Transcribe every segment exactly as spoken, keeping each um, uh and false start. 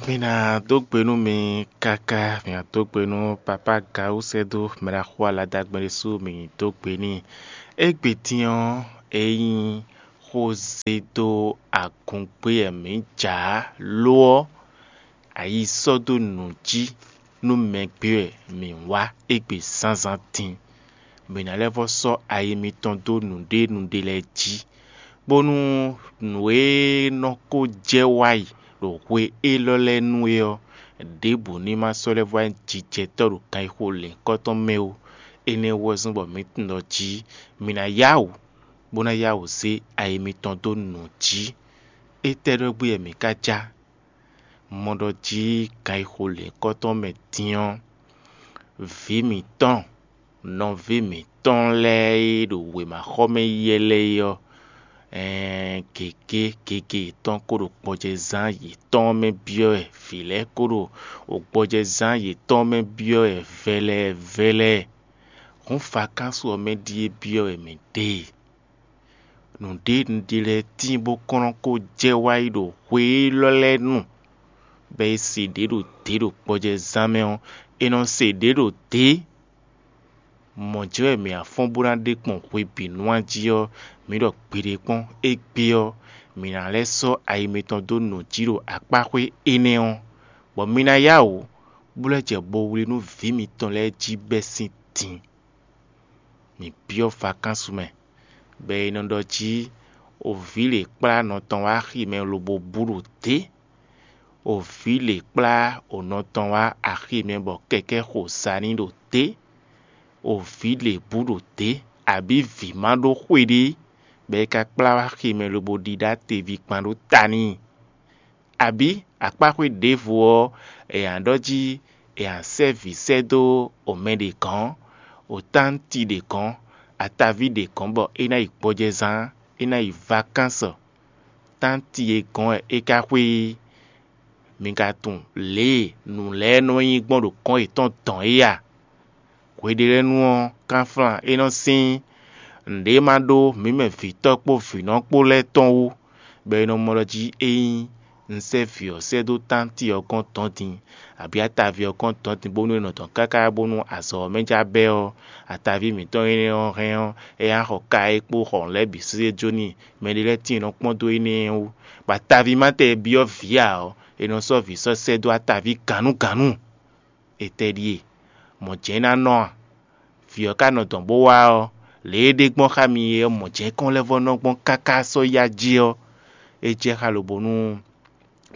Mi ná dó gbe nú mi káká, mi ná dó gbe nú Papa Gawú sɛ́ dó mɛ ɖaxó aladagbɛn ɖésú mi dó gbe n'i. Égbé din ɔ́, é nyí xózé dó agungbé wɛ mǐ jǎ, lo ɔ́, ayi sɔ́ dó nǔ jí nú mɛ gbé wɛ mǐ wá égbé zǎnzǎn din. Mǐ ná lɛ́ vɔ́ sɔ́ ayi mitɔn dó nǔɖé nǔɖé lɛ́ɛ jí, bónú nǔ e nɔ ko jɛ wá yi ɖo hwe élɔ́ lɛ́ɛ nu é ɔ́, ɖěbǔ ní ma sɔ́ lɛ́ vɔ́ nyí jijɛtɔ́ ɖo ganxixo lěhunkɔtɔn mɛ ó. Énɛ́ wú ɔ́ zɔ́n bɔ mǐ tunwun ɖɔ jí mǐ ná yá wǔ, bó ná yá wǔ zé ayi mitɔn dó nǔ jí. Étɛ́ ɖɔgbí wɛ mǐ ka já? Mɔ ɖɔ jí ganxixo lěhunkɔtɔn mɛ din ɔ́, vǐ mǐtɔn, nɔví mǐtɔn lɛ́ɛ e ɖo wěmaxɔmɛ yi wɛ lɛ́ɛ é ɔ́, ɛɛn gěgé gěgé yětɔn ko ɖo gbɔjɛzán yětɔn mɛ byɔ́ wɛ, vǐ lɛ́ɛ ko ɖo gbɔjɛzán yětɔn mɛ byɔ́ wɛ vɛlɛɛ vɛlɛɛ. Hǔn vakánsu ɔ́ mɛ ɖíe byɔ́ wɛ mǐ ɖe e. Nǔɖé nǔɖé lɛ́ɛ tíin bó kɔn nɔ ko jɛ wá yi ɖo hwe élɔ́ lɛ́ɛ nu, bɔ è se ɖě ɖo dě ɖo gbɔjɛzán mɛ ɔ́, è nɔ se ɖě ɖo dě. Mɔ̌ jɛ́n wɛ mǐ ná fɔ́n bó ná ɖe kpɔn hwebǐnu a jí ɔ́, mǐ ɖɔ gbeɖé kpɔ́n. Égbé ɔ́, mǐ ná lɛ́ sɔ́ ayi mitɔn dó nǔ jí ɖo akpáxwé énɛ́ ɔ́, bɔ mi ná yá wǔ, bó lɛ́ jɛ bo wlí nú vǐ mitɔn lɛ́ɛ jí bɛ́ sín din. Mǐ byɔ́ vakánsu mɛ, bɔ è nɔ ɖɔ jí o vǐ lě kplá nɔ tɔn wá axi mɛ lobo bú ɖo dě. O vǐ lě kplá o nɔ tɔn wá axi mɛ bɔ kɛkɛ́ xo sa n'i ɖo dě. O vǐ lě bú ɖo dě, abǐ vǐ ma ɖó xwe ɖé, bɔ é ka kplá wá axi mɛ lobo ɖíɖá teví kpan ɖó ta n'i. Abǐ akpáxwé ɖěvo ɔ́, è nǎ ɖɔ jí è nǎ sɛ́ vǐ sɛ́ dó o mɛ ɖě gɔ̌n, o tánti ɖě gɔ̌n, ataví ɖě gɔ̌n bɔ é ná yi gbɔjɛzán, é ná yi vakánsɔ. Tánti e gɔ̌n wɛ é ka xwé é. Mi ka tunwun lě e nǔ lɛ́ɛ nɔ nyí gbɔn ɖo gɔ̌n yětɔn dɔn é a? Hweɖélɛ́nu ɔ́, kanflan é nɔ sín nǔɖé ma ɖó mǐ mɛ vǐtɔ́ kpó vǐnɔ kpó lɛ́ɛ tɔn wú, bɔ è nɔ mɔ ɖɔ jí ényí un sɛ́ vǐ ɔ́ sɛ́ dó tánti ɔ́ gɔ́n dɔ̌n din, abǐ ataví ɔ́ gɔ́n dɔ̌n din bónú é nɔ dɔn káká bónú azɔ̌ ɔ́ mɛ já bɛ́ ɔ́, ataví mǐtɔn énɛ́ ɔ́ hɛn ɔ́, é ná xɔ ka é kpó xɔ nǔ lɛ́ɛ bǐ sésé jó n'i. Mɛɖé lɛ́ɛ tíin nɔ kpɔ́n dó énɛ́ wú, bɔ ataví ma tɛ e byɔ́ vǐ ǎ ɔ́, è nɔ sɔ́ vǐ sɔ́ sɛ́ dó ataví gǎnugǎnu. Etɛ́ ɖíe? Mɔ̌ jɛ́n é ná nɔ a? Vǐ ɔ́ ka nɔ dɔn bó wá ɔ́, lě e é ɖe gbɔn xá mi é ɔ́, mɔ̌ jɛ́n é kɔn lɛ́ vɔ́ nɔ gbɔn káká sɔ́ yi ají ɔ́, é jɛ xá lobonu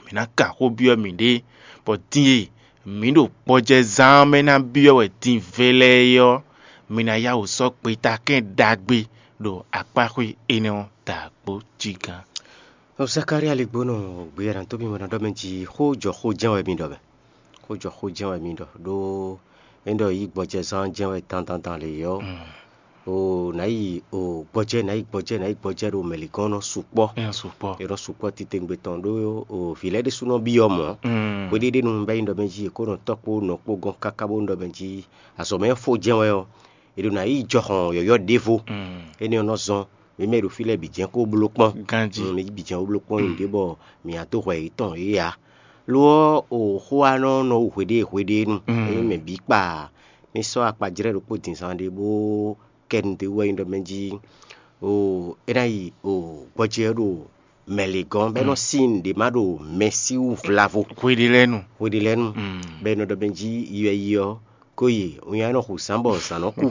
mǐ ná kan xó byɔ́ mǐɖée, bɔ din e mǐ ɖo gbɔjɛzán ɔ́ mɛ ná byɔ́ wɛ din vɛlɛɛ é ɔ́, mi ná yá wǔ sɔ́ gbeta kɛ́n ɖagbe ɖo akpáxwé énɛ́ ɔ́ da kpó jí gán. Zakalía ligbónɔ gbeyɛ́ ná tó mì mɔ ná ɖɔ mɛ jí xó jɔ xó jɛ́n wɛ mi ɖɔ mɛ. Xó jɔ xó jɛ́n wɛ mi ɖɔ ɖó é ɖɔ yí gbɔjɛzán jɛ́n wɛ dandandan lě ɔ́, o nǎ yi o gbɔjɛ́ nǎ yi gbɔjɛ́ nǎ yi gbɔjɛ́ ɖo mɛ̌ligɔ́n nɔ sukpɔ́. É nɔ sukpɔ́. É nɔ sukpɔ́ titewungbe tɔn ɖó o vǐ lɛ́ɛ ɖésú nɔ byɔ́ mɔ̌. Hweɖéɖénu bɛ́ nyí ɖɔ mɛ jí è kó nɔ tɔ́ kpó nɔ kpó gɔ́n káká bó nɔ ɖɔ mɛ jí azɔ̌ mɛ fó jɛ́n wɛ ɔ́, è ɖo nǎ yi jɔhɔn yɔ̌yɔ́ ɖěvo. Énɛ́ ɔ́ nɔ zɔ́n mǐ mɛ e ɖo fí lɛ́ɛ bǐ jɛ́n kó bló kpɔ́n. Ganjí. Mm, mǐ bǐ jɛ́n wú bló kpɔ́n nyi ɖě bɔ mǐ ná dó hwɛ yětɔn yě ǎ. Lo ɔ́, o xó wa nɔ nɔ wú hweɖée hweɖée nu. Mm. Ényí mɛ bǐ kpa mì sɔ́ akpajlɛ́ ɖokpó din zán ɖé bó kɛ nu dó wú wɛ nyí ɖɔ mɛ jí o é ná yi o gbɔjɛ́ ɖo mɛ lě gɔ́n bɔ é nɔ sí nǔɖé ma ɖo mɛ sí wú vlavo. Hweɖélɛ́nu. Hweɖélɛ́nu. Mm. Bɔ é nɔ ɖɔ mɛ jí yi wɛ yi ɔ́, kó yi winnyá nɔ xo zǎn bɔ zǎn nɔ kú.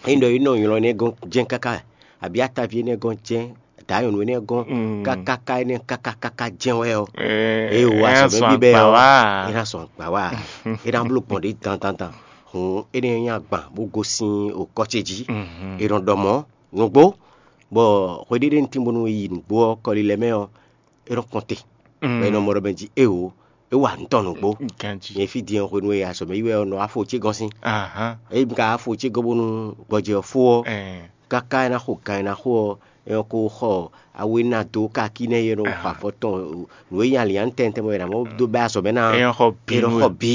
Ényí ɖɔ é nɔ nylɔ énɛ́ gɔ́n jɛ́n káká, abǐ ataví énɛ́ gɔ́n jɛ́n, dǎ nyɔ̌nu énɛ́ gɔ́n, kákáká énɛ́ káká káká jɛ́n wɛ ɔ́, é wo azɔ̌ mɛ bíbɛ́ ɔ́, é ná sɔn gbǎ wa, é ná bló gbɔn ɖě dandandan. Hǔn énɛ́ nyí agban bó gosín okɔ́ ce jí. É nɔ ɖɔ mɔ̌ nǔgbó, bɔ hweɖéɖé ntín bónú é yi nǔgbó ɔ́, kɔlilɛ mɛ ɔ́, é nɔ kɔn te, bɔ é nɔ mɔ ɖɔ mɛ jí éwo, é wa nǔ tɔn nǔgbó. Ganjí. Nyɛ fí din ɔ́, hwenu e azɔ̌ mɛ yi wɛ ɔ́, nɔ wá fo ce gɔ́n sín. Ahán. Ényí mi ka wá fo ce gɔ́n bónú gbɔjɛ ɔ́ fó ɔ́, káká é ná xo gan é ná xo ɔ́, é nɔ ko xɔ awu e ná dó kákí nɛ́ é nɔ xɔ afɔ tɔn nǔ e nyi ali ǎ tɛntɛn bɔ è nǎ mɔ dó bɛ́ azɔ̌ mɛ ná. É nɔ xɔ bǐ. É nɔ xɔ bǐ.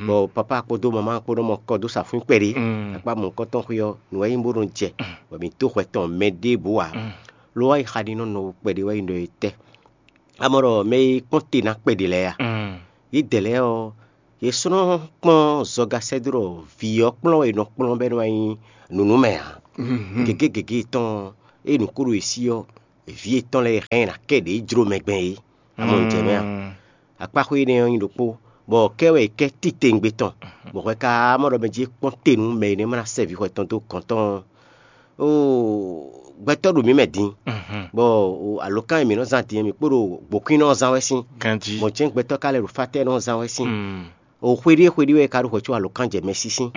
Bɔ papá kpódó mamá kpó nɔ mɔ kɔ dó sa fún kpɛɖé. Akpá mɔ̌hunkɔtɔn xwé ɔ́, nǔ wɛ nyí bó nɔ jɛ, bɔ mǐ dó hwɛ tɔn mɛ ɖěbǔ ǎ. Lo ɔ́, yi xa ɖi nɔ nɔ kpɛɖé wɛ nyí ɖɔ é tɛ́. A mɔ ɖɔ mɛ e kpɔ́n te ná kpɛɖe lɛ́ɛ a? Yědɛɛ lɛ́ɛ ɔ́, yě sɔ́ nɔ kpɔ́n zɔga sɛ́ dó ɖɔ vǐ ɔ́ kplɔ́n e nɔ kplɔ́n bɔ é nɔ wá nyí nǔnúmɛ ǎ. Gěgé gěgé tɔn ɔ́, ée nǔ kó ɖo yě sí ɔ́, vǐ yětɔn lɛ́ɛ hɛn ná kɛ ɖě jló mɛ gbɛn é. A mɔ nǔ jɛ mɛ a? Akpáxwé énɛ́ ɔ́ nyí ɖokpó, bɔ kɛ́ wɛ è kɛ́ titewungbe tɔn, bɔ hwɛ ka mɔ ɖɔ mɛ jí é kpɔ́n te nú mɛ e nɛ́ ma ná sɛ vǐ hwɛ tɔn dó gɔ̌n tɔn ɔ́. Oo, gbɛtɔ́ ɖo mǐ mɛ din, bɔ alǒkan e mǐ nɔ zán din ɔ́, mǐ kpo ɖo gbǒkwínnɔ ɔ́ zán wɛ sín, Ganjí. Mɔ̌ jɛ́n gbɛtɔ́ ka lɛ́ ɖo fátɛ́nɔ ɔ́ zán wɛ sín. O xweɖée xweɖée wɛ è ka ɖo hwɛ có alǒkan jɛ mɛ sísín.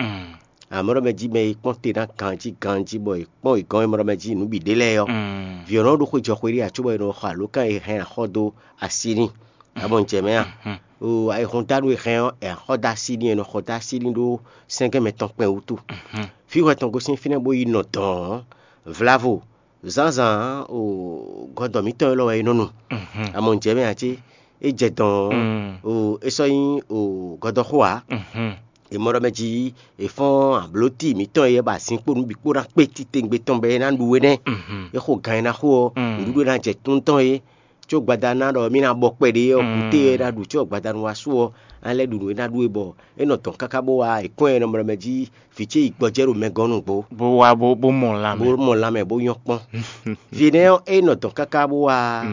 Amɔ̌ ɖɔ mɛ jí mɛ e kpɔ́n te ná ganjí ganjí, bɔ è kpɔ́n è gɔ́n e mɔ ɖɔ mɛ jí nǔ bǐ ɖé lɛ́ɛ ɔ́, vǐ ɔ́ nɔ ɖó xwé jɔ xweɖée ǎ, cóbɔ è nɔ xɔ alǒkan e hɛn axɔ́ dó así n'i. A mɔ nǔ jɛ mɛ a? O ayihɔndanu e hɛn ɔ́, è axɔ́ dó así n'i, è nɔ xɔ dó así n'i ɖó sɛ́ngɛ́n mɛtɔn kpɛn wútu. Fí hwɛ tɔn gosín fínɛ́ bó yi nɔ dɔ̌n ɔ́, vlavo zǎnzǎn o gɔdɔ mǐtɔn élɔ́ wɛ é nɔ nu. A mɔ nǔ jɛ mɛ ǎ cé? É jɛ dɔ̌n ɔ́, o é sɔ́ nyí o gɔdɔxó ǎ. È mɔ ɖɔ mɛ jí è fɔ́n ablǒti mǐtɔn e ba zinkpo nú bǐ kpó ná kpé titewungbe tɔn bɔ é ná ɖu é nɛ́. É xo gan e ná xo ɔ́, nǔɖuɖu e ná jɛ tún tɔn é, có gbada ná ɖɔ mì ná bɔ kpɛɖé ɔ́, kúté e ná ɖu có gbadanu wá su ɔ́, ná lɛ́ ɖu nǔ e ná ɖu é, bɔ é nɔ dɔn káká bó wá è kɔn ɛ nɔ mlɔ mɛ jí vǐ ce yi gbɔjɛ́ ɖo mɛ gɔ́n nǔgbó, bó wá bó bó mɔ bó lanmɛ. Mɔ lanmɛ bó nyɔ́ kpɔ́n. Vǐ énɛ́ ɔ́, é nɔ dɔn káká bó wá,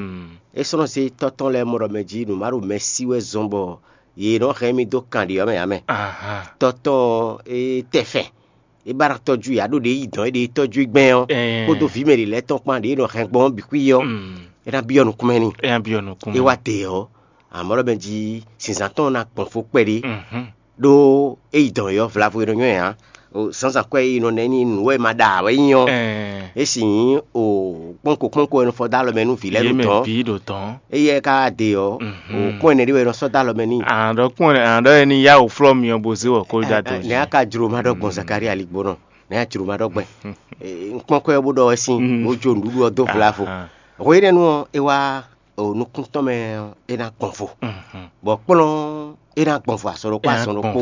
é sɔ́ nɔ zé tɔ́ tɔn lɛ́ɛ mɔ ɖɔ mɛ jí nǔ má ɖo mɛ sí wɛ zɔn bɔ yě nɔ hɛn mì dó kan ɖě ɔ́ mɛ ǎ mɛ. Tɔ́ tɔn ɔ́, é tɛ fɛn, é ba ná tɔ́jú yě, aɖó ɖě yi dɔn é ɖě tɔ́jú gbɛn ɔ́, kpódó vǐ mɛ ɖě lɛ́ɛ tɔn kpán ɖě nɔ hɛn gbɔn ɔ́ bǐ xwí ɔ́, é ná byɔ́ nukúnmɛ n'i. É byɔ́ nukúnmɛ. É wá te ɔ́, amɔ̌ lɔ mɛ jí zǐnzán tɔn ná gbɔn fó kpɛɖé, ɖó é yi dɔn yě ɔ́ vlavo e nɔ nyɔ́ ɛ ǎ. Zǎnzǎn kwɛ́ e nɔ ná ɛ ní nǔ wɛ ma ɖa ǎ wɛ nyí ɔ́, é sì nyí o kpɔ́nko kpɔ́nko e nɔ fɔ dó alɔ mɛ nú vǐ lɛ́ɛ ɖo dɔ̌n. Vǐ ɖo dɔ̌n. Éyɛ́ ka de ɔ́, o kpɔ́n ɛnɛ ɖé wɛ è nɔ sɔ́ dó alɔ mɛ n'i. Àɖɔ kpɔ́n àɖɔ ɛni yá wò flɔ́ mi ɔ́ bó zé wɔ kó dó ato jí. Nɛ̌ a ka jló ma ɖɔ gbɔn Zakari aligbónɔ? Nɛ̌ a jló ma ɖɔ gbɛn? Un kpɔ́n kwɛ́ ɔ́ bó ɖɔ wɛ sín, bó jó nǔɖuɖu ɔ́ dó vlavo. Hwe énɛ́ nu ɔ́, é wá o nukún tɔn mɛ ɔ́, é ná gbɔn vo, bɔ kplɔ́n é ná gbɔn vo asɔ ɖokpó asɔ ɖokpó.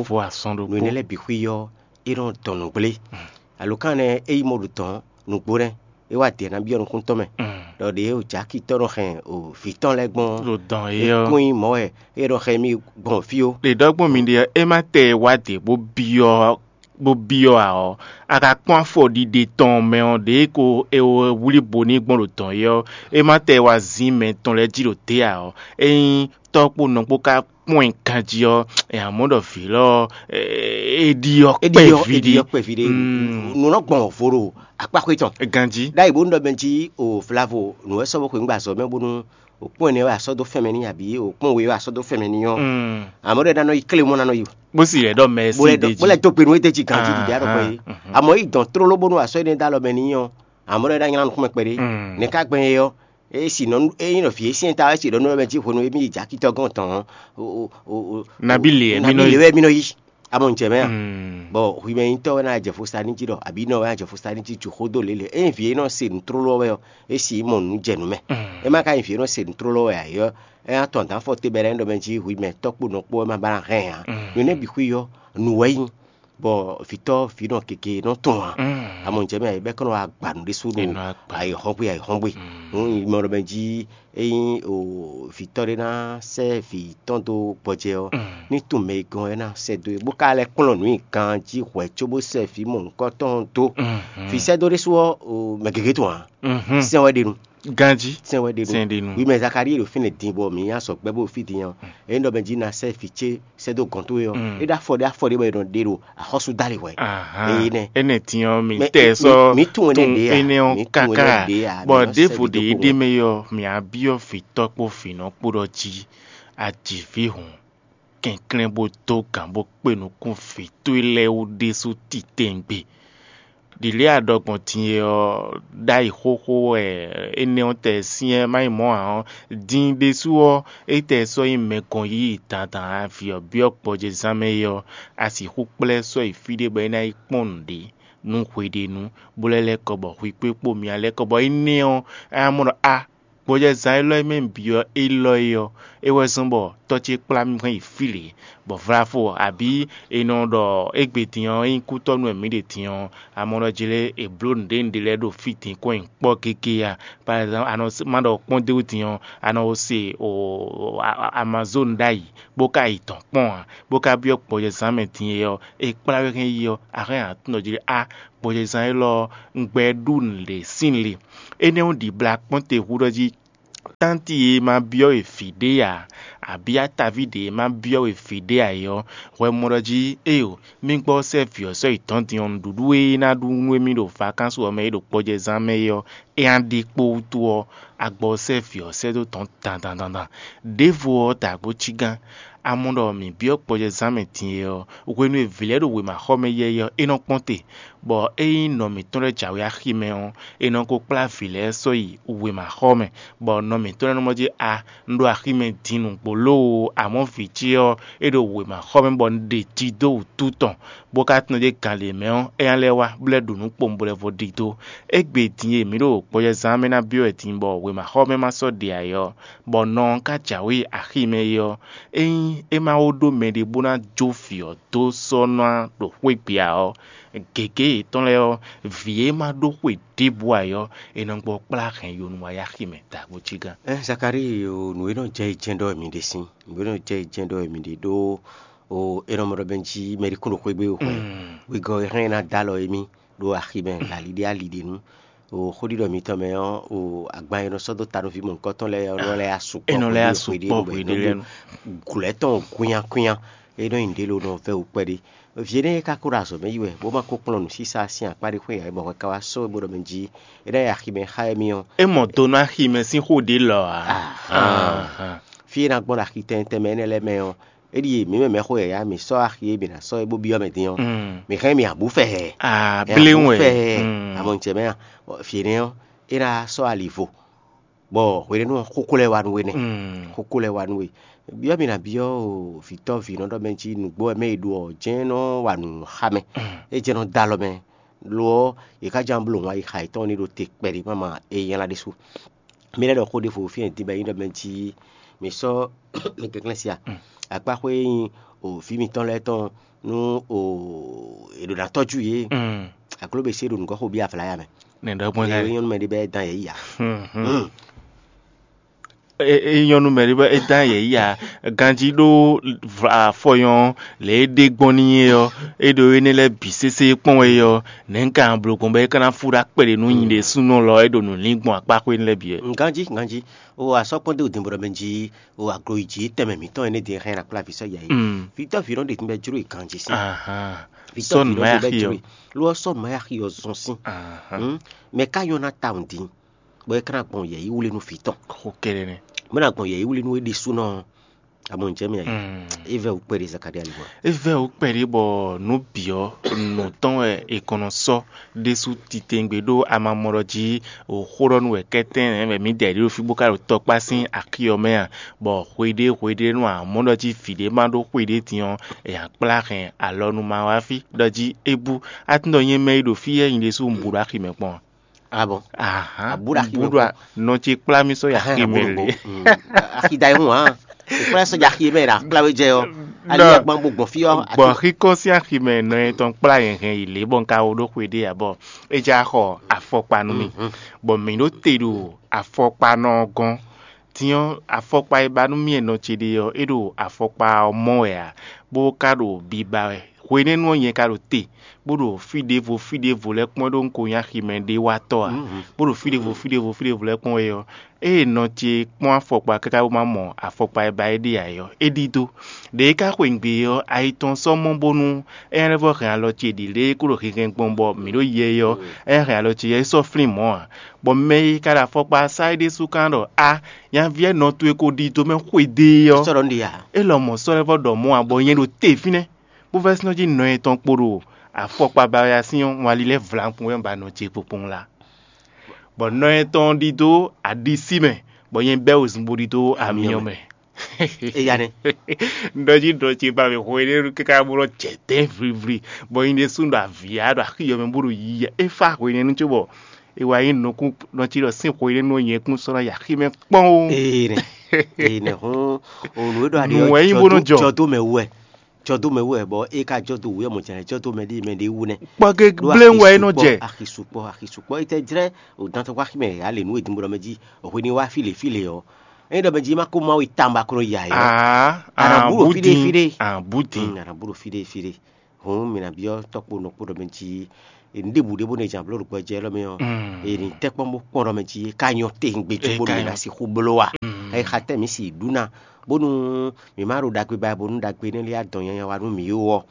Nǔ énɛ́ lɛ́ɛ bǐ xwí ɔ́, é nɔ dɔn nǔgblé. Alǒkan nɛ́ é yi mɔ ɖo dɔ̌n nǔgbó nɛ́, é wá dě ná byɔ́ nukún tɔn mɛ, ɖɔ ɖě o jǎki tɔ́ nɔ hɛn o vǐ tɔn lɛ́ɛ gbɔn ɖo dɔn é é ɔ́. Kún nyí mɔ̌ wɛ é nɔ hɛn mì gbɔn fí ó. Ɖe ɖɔ gbɔn mi ɖe ɔ́, é má tɛ wá dě bó byɔ́ bó byɔ́ ǎ ɔ́, a ka kpɔ́n afɔɖiɖe tɔn mɛ ɔ́, ɖě ko è wlí bo n'i gbɔn ɖo dɔ̌n é ɔ́, é má tɛ wá zín mɛ tɔn lɛ́ɛ jí ɖo dě ǎ ɔ́, ényí tɔ́ kpó nɔ kpó ka kpɔ́n ɛ ganjí ɔ́, è nǎ mɔ ɖɔ vǐ lɔ ɔ́, é ɖi ɔ́ é ɖi ɔ́ kpɛví é ɖi ɖé. Ɔ́ kpɛví ɖé. Nǔ nɔ gbɔn vo ɖo akpáxwé tɔn Ganjí. Ɖ'ayǐ bónú ɖɔ mɛ jí o vlavo nǔ wɛ sɔ́ bó xweyǐngbe azɔ̌ mɛ bónú o kpɔ́n ɛnɛ wɛ a sɔ́ dó fɛn mɛ n'i abǐ o kpɔ́n we wɛ a sɔ́ dó fɛn mɛ n'i ɔ́, amɔ̌ ɖɔ é ná nɔ yi klé mɔ́ ná nɔ yi o. Bó sì lɛ́ ɖɔ mɛ bó sí lɛ́ ɖ'é dɔn bó lɛ́ jí. Dó gbe nú é d'é jí ganjí ɖiɖi aɖɔkpɛ é. Amɔ̌ yi dɔn tlóló bónú a sɔ́ énɛ́ dó alɔ mɛ n'i ɔ́, amɔ̌ ɖɔ é ná nylá nukúnmɛ kpɛɖé. Nɛ̌ ka gbɛn é ɔ́? É sì nɔ é nyí nɔ vǐ e syɛ́n ta wɛ é sì ɖɔ nú mɛ jí hwenu e mí yi jǎkitɔ́ gɔ́n tɔn ɔ́, o- o- o- Nabí lě wɛ mí nɔ yi. Lě wɛ mí nɔ yi. Amɔ un jɛ mɛ a? Bɔ hwimɛnyitɔ́ wɛ ná jɛ fo sa ní jí ɖɔ abǐ nɔ wɛ ná jɛ fo sa ní jí ju xó dó lě lě. Ényí vǐ e nɔ se nǔ tlóló wɛ ɔ́, é sì mɔ nǔ jɛ nǔ mɛ. É má ka nyí vǐ e nɔ se nǔ tlóló wɛ ǎ é ɔ́, é ná tɔn dǎn fɔ te bɛlɛ ɖɔ mɛ jí hwimɛ tɔ́ kpo nɔ kpó wɛ má ba ná hɛn ǎ. Nǔ énɛ́ bǐ xwí ɔ́, nǔ wɛ nyí, bɔ vǐtɔ́ vǐ nɔ gěgé nɔ tɔn ǎ. Amɔ un jɛ mɛ bɛ́ kɔn nɔ wá gba nǔ ɖésú ɖo ayǐhɔ́ngbe ayǐhɔ́ngbe. Nǔ mɔ ɖɔ mɛ jí ényí o vǐtɔ́ ɖé ná sɛ́ vǐ tɔn dó gbɔjɛ ɔ́, ní tunwun mɛ e gɔn é ná sɛ́ dó e, bó ka lɛ́ kplɔ́n nǔ nyi ganjí hwɛ̌ cóbó sɛ́ vǐ mɔ̌hunkɔtɔn ɔ́ dó. Vǐ sɛ́ dó ɖésú ɔ́, o, mɛ gěgé tɔn ǎ. Sɛn wɛ ɖe nu. Ganjí. Sɛn wɛ ɖe nu. Sɛn ɖe nu. Wi mɛ Zakalíi ɖo fínɛ́ din bɔ mǐ nyi azɔ̌ gbɛ́ bó ɖo fí din ɔ́, ényí ɖɔ mɛ jí ná sɛ́ vǐ ce sɛ́ dó gɔ̌n towe ɔ́, é ɖó afɔ ɖé afɔ ɖé bɔ è nɔ ɖe ɖo axɔ́sú dálí hwɛ̌. Eye nɛ́. Énɛ́ din ɔ́, mǐ Mɛ- tɛ mǐ- sɔ́ mǐ tunwun énɛ́ ɖě a? Énɛ́ ɔ́ Mǐ tunwun káká énɛ́ ɖě a? Bɔ Mǐ nɔ ɖěvo sɛ́ ɖě ɖokpó ɖé mɛ ɔ́, mǐ á byɔ́ vǐtɔ́ kpó vǐnɔ kpó ɖɔ jí a ji vǐ hǔn, kɛnklɛ́n bó dó gǎn bó kpé nukún vǐ towe lɛ́ɛ wú ɖésú titewungbe. Ɖǐlé a ɖɔ gbɔn din e ɔ́, ɖ'ayǐ xóxó wɛ énɛ́ ɔ́ tɛ syɛ́n má nyí mɔ̌ ǎ ɔ́, din ɖésú ɔ́, é tɛ sɔ́ nyí mɛ gɔn yíyí dandan avǐ ɔ́ byɔ́ gbɔjɛzán mɛ é ɔ́, a sixú kplá ɛ sɔ́ yi fí ɖé bɔ é ná yi kpɔ́n nǔɖé nú hweɖénu, bó lɛ́ lɛ́ kɔ bɔ hwi kpé kpó myá lɛ́ kɔ bɔ énɛ́ ɔ́, é ná mɔ ɖɔ a Gbɔjɛzán élɔ́ e mɛ un byɔ́ élɔ́ é ɔ́, é wɛ zɔ́n bɔ tɔ́ ce kplá mì hɛn yi fí lě, bɔ vlafo abǐ è nɔ ɖɔ égbé din ɔ́, ényí kútɔ́nú wɛ mǐ ɖe din ɔ́, a mɔ ɖɔ jlé è blǒ nǔɖé nǔɖé lɛ́ɛ ɖo fí din kɔn nyi kpɔ́ gégé a? Par exemple, a nɔ má ɖɔ kpɔ́n d'é wú din ɔ́, a nɔ se Amazone ɖ'ayǐ, bó ka yi dɔ̌n kpɔ́n ǎ, bó ka byɔ́ gbɔjɛzán mɛ din é ɔ́, è kplá we hɛn yi ɔ́, a hɛn atín ɖɔ jí ɖɔ á, gbɔjɛzán élɔ́ ɔ́, un gbɛ ɖú nǔɖé sín le. Énɛ́ ɔ́ ɖibla kpɔ́n te hú ɖɔ jí tánti e ma byɔ́ we vǐ ɖé ǎ, abǐ ataví ɖě e ma byɔ́ we vǐ ɖé ǎ é ɔ́, hwɛ mɔ ɖɔ jí éeǒ, mí gbɔ sɛ́ vǐ ɔ́ sɔ́ yi dɔ̌n din ɔ́, nǔɖuɖu e é ná ɖu nú émí ɖo vakánsú ɔ́ mɛ e ɖo gbɔjɛzán mɛ é ɔ́, é ná ɖe kpó wútu ɔ́, a gbɔ sɛ́ vǐ ɔ́ sɛ́ dó dɔ̌n dandan dandan. Đěvo ɔ́, dǎgbó cígán, a mɔ ɖɔ mǐ byɔ́ gbɔjɛzán mɛ din é ɔ́, hwenu e vǐ lɛ́ɛ ɖo wěmaxɔmɛ yɛ́yɛ́ ɔ́, é nɔ kpɔ́n te, bɔ ényí nɔ mǐtɔn lɛ́ɛ jǎwe axi mɛ ɔ́, è nɔ ko kplá vǐ lɛ́ɛ sɔ́ yi wěmaxɔ mɛ, bɔ nɔ mǐtɔn lɛ́ɛ nɔ mɔ jí a, un ɖo axi mɛ din nǔgbó lóo, amɔ̌ vǐ ce ɔ́, é ɖo wěmaxɔ mɛ bɔ un ɖe ji dó wǔtu tɔn, bó ka tunwun ɖě gan lě mɛ ɔ́, é ná lɛ́ wá, bó lɛ́ ɖu nǔ kpowun bó lɛ́ vo ɖidó. Égbé din e mǐ ɖo gbɔjɛzán mɛ ná byɔ́ wɛ din bɔ wěmaxɔ mɛ ma sɔ́ ɖe ǎ é ɔ́, bɔ nɔ ɔ́ ka jǎwe axi mɛ é ɔ́, ényí é ma wó ɖó mɛɖé bó ná jó vǐ ɔ́ dó sɔ́ ná ɖo xwé gbe ǎ ɔ́, gěgé yětɔn lɛ́ɛ ɔ́, vǐ e ma ɖó xwe ɖěbǔ ǎ é ɔ́, è nɔ gbɔ kplá hɛn yo nú wá yi axi mɛ dǎgbó cígán. Ɛ Zakalíi o, nǔ e nɔ jɛ yi jɛ́n ɖɔ wɛ mi ɖe sín, nǔ e nɔ jɛ yi jɛ́n ɖɔ wɛ mi ɖe ɖó o, è nɔ mɔ ɖɔ bɛn jí mɛ ɖé kún ɖo xwé gbe o xwɛ. Wegɔ́ e hɛn ná dó alɔ émí ɖo axi mɛ ali ɖé ali ɖé nu. O xóɖiɖɔ mitɔn mɛ ɔ́, o agban e nɔ sɔ́ dó ta nú vǐ mɔ̌hunkɔtɔn lɛ́ɛ ɔ́ nɔ lɛ́ asukpɔ. É nɔ lɛ́ asukpɔ hweɖé lɛ́ɛ nu. Glɔ̌ tɔn kwínnyákwínnyá, é nɔ nyi nǔɖé lo nɔ vɛ́ wǔ kpɛɖé. Vǐ énɛ́ e ka ko ɖo azɔ̌ mɛ yi wɛ, bó ma ko kplɔ́n nǔsísá sín akpá ɖé xwé ǎ, bɔ hwɛ ka wá sɔ́ we bó ɖɔ mɛ jí é ná yi aximɛ xá émí ɔ́. É mɔ do nú aximɛ sín xó ɖě lɔ ǎ. Ahán. Fí e ná gbɔn ɖo axi tɛntɛn mɛ énɛ́ lɛ́ɛ mɛ ɔ́, é ɖíe mǐ mɛ mɛxó yǎyá mǐ sɔ́ axi e mǐ ná sɔ́ é bó byɔ́ mɛ din ɔ́, mǐ hɛn mǐ abǔ fɛ hɛ. Aa, bléwún wɛ. Fɛ hɛ. Amɔ jɛ mɛ a, fǐ énɛ́ ɔ́, é ná sɔ́ ali vo, bɔ hwenɛ́nu ɔ́, xókó lɛ́ɛ wá nú we nɛ́. Xókó lɛ́ɛ wá nú we. Byɔ́ mǐ ná byɔ́ o vǐtɔ́ vǐnɔ ɖɔ mɛ jí nǔgbó wɛ mɛ e ɖo ɔ́, jɛ́n nɔ wa nǔ xá mɛ. É jɛ́n nɔ dó alɔ mɛ. Lo ɔ́, yě ká ján bló wǎn yi xa yětɔn ní ɖo te kpɛɖé máma e nylá ɖésú. Mi lɛ́ ɖɔ xó ɖěvo fí e din bɔ é nyí ɖɔ mɛ jí mi sɔ́ mi kɛnklɛ́n sia. Akpáxwé e nyí o vǐ mitɔn lɛ́ɛ tɔn nú o è ɖǒ ná tɔ́jú yě. Akló be sé ɖo nǔgɔ́ xo bí avlá ya mɛ. Nɛ ɖɔ gbɔn Eye nyɔ́nu mɛ ɖé bɛ dán yě yi ya. É nyɔ́nu mɛ ɖé bɔ é dán yě yi ya. Ganjí ɖó afɔyɔn lě e ɖe gbɔn n'i é ɔ́, é ɖo énɛ́ lɛ́ɛ bǐ sésé kpɔ́n wɛ é ɔ́, nɛ̌ un ka bló gbɔn bɔ é ka ná fú ɖó akpɛɖé nú nyi ɖésúnɔ lɔ é ɖo nǔ lín gbɔn akpáxwé lɛ́ɛ bǐ wɛ? Ganjí, ganjí. O asɔ́ kpɔ́n dó dǐnbɔɖɔ mɛ jí o aglo yi jǐ tɛnmɛ mǐtɔn énɛ́ din hɛn akpláví sɔ́ ya yi. Vǐtɔ́ vǐ nɔ ɖe tínbɛ jló yi ganjí sín. Vǐtɔ́ Sɔ́ vǐ nǔ nɔ ma ɖe yá bɛ xi jló ɔ́. Yi. Lo ɔ́ sɔ́ nǔ ma yá xi ɔ́ zɔn sín. Mɛ ká nyɔ́ ná tawun dín, bɔ é ká ná gbɔn yɛ̌yíwlí nú vǐ tɔn. Xó kɛɖɛ nɛ. Bó ná gbɔn yɛ̌yíwlí nú é ɖésúnɔ ɔ́. Amɔ jɛ mɛ. É vɛ wú kpɛɖé Zakaria li bɔ. É vɛ wú kpɛɖé bɔ nǔ bǐ ɔ́, nǔ tɔn wɛ è kɔn nɔ sɔ́ ɖésú titewungbe ɖó a ma mɔ ɖɔ jí o xó ɖɔ nú wɛ kɛ́tɛ́n nɛ̌ wɛ mǐ da ɖě ɖo fí bó ka ɖo tɔkpá sín axi ɔ́ mɛ a? Bɔ hweɖé hweɖé nú a mɔ ɖɔ jí vǐ ɖé ma ɖó xwe ɖé din ɔ́, è nǎ kplá hɛn alɔ nú ma wá fí ɖɔ jí é bú. A tunwun ɖɔ nyɛ mɛ e ɖo fí yɛ́ nyi ɖésú un bu ɖo axi mɛ kpɔ́n a? Ah bon. Ahan. Abu ɖo axi mɛ. Nɔ ce kplá mí sɔ́ yi axi mɛ lě. Axi da yi hun hàn. Ìkplá sɔ́ jɛ axi mɛ ɖa kplá wé jɛ ɔ. Ali yɛ gbɔn gbɔn fi ɔ. Gbɔn xikɔ sín axi mɛ nɔ yɛ tɔn kplá yɛn hɛn yi lě bɔ un ka wo ɖó xwe ɖé abɔ é já xɔ afɔkpa nú mi. Bɔ mǐ ɖo te ɖo afɔkpa nɔ gɔ́n. Din ɔ́, afɔkpa e ba nú mì e nɔ ce ɖe ɔ́, é ɖo afɔkpa ɔ́ mɔ wɛ ǎ, bó ka ɖo biba wɛ. Hwenɛ́nu ɔ́, nyɛ ka ɖo te, bó ɖo fí ɖěvo fí ɖěvo lɛ́ɛ kpɔ́n ɖó un ko nyí aximɛ ɖé watɔ́ ǎ, bó ɖo fí ɖěvo fí ɖěvo fí ɖěvo lɛ́ɛ kpɔ́n wɛ ɔ́, ée nɔ ce kpɔ́n afɔkpa káká bó ma mɔ afɔkpa e ba é ɖe ǎ é ɔ́, é ɖidó. Ɖě e ka xweyǐgbe é ɔ́, ayi tɔn sɔ́ mɔ bónú é ná lɛ́ vɔ́ hɛn alɔ ce ɖi lě e kó ɖo hinhɛn gbɔn bɔ mǐ ɖo yɛ é ɔ́, é ná hɛn alɔ ce yɛ é sɔ́ flín mɔ̌ ǎ. Bɔ mɛ e ka ɖo afɔkpa sá é ɖésú ka ɖɔ á, nyaví ɛnɔ towe ko ɖi do mɛ xwedó é ɔ́, sɔ́ ɖɔ nú ɖi ǎ. É lɔmɔ̌ sɔ́ lɛ́ vɔ́ ɖɔ mɔ̌ ǎ, bɔ nyɛ ɖo te fínɛ́, bó vɛ́ sínɔ́ jí nɔ etɔn kpo ɖo afɔkpa ba wɛ asín ɔ́, un wá lílɛ́ vlankpun wɛ un ba nɔ ce kpokpɔn la. Bɔ nɔ etɔn ɖi dó aɖisí mɛ, bɔ nyɛ bɛ́ wezun bó ɖi dó amyɔ mɛ. Eya nɛ. Ɖɔ jí ɖɔ ce ba mɛ hwe ɖé káká bó nɔ jɛ dɛ̌n vlivli, bɔ nyɛ ɖésú ɖo avǐ ya ɖo axi yɔ mɛ bó ɖo yiyi. É fá hwenɛ́nu cóbɔ E wá nyí nukún nɔ cí ɖɔ sín xwe ɖé nɔ nyɛ kún sɔ́ ná yi axi mɛ kpɔ́n ó. Ee nɛ, ee nɛ hɔn, o nǔ e ɖɔ aɖe Nǔ wɛ nyí bó nɔ jɔ. Jɔdó mɛ wú wɛ, jɔdó mɛ wú wɛ, bɔ e ka jɔdó wú wɛ mɔ jɛnɛ jɔdó mɛ ɖé mɛ ɖé wú nɛ. Kpɔ́ gé Ɖó bléwu wɛ é nɔ jɛ. Axi sukpɔ, axi sukpɔ, e tɛ jlɛ o dantɔ kɔ axi mɛ ya le nǔ e din bó ɖɔ mɛ jí, o hwe ní wá fí le fí le ɔ, e ɖɔ mɛ jí ma ko ma wo tamba ko nɔ ya yɔ. Aa, Ana bú ɖo fí ɖé, fí ɖé. Abudin. Mm, ana bú ɖo fí ɖé, fí ɖé. Hǔn mǐ ná byɔ́ tɔ́kpo nɔkpó ɖɔ mɛ jí nǔɖébǔ ɖé bó nɔ jɛ abló ɖo gbɔjɛ élɔ́ mɛ ɔ́, è nǐ tɛ́ kpɔ́n bó kpɔ́n ɖɔ mɛ jí é ka nyɔ́ tewungbe cóbónú mǐ ná sixú bló a? É xa tɛ́ mǐ si ɖǔ ná, bónú mǐ má ɖo ɖagbe ba bónú ɖagbe énɛ́ lɛ́ɛ adɔn nyanya wa nú mǐ ó ɔ́,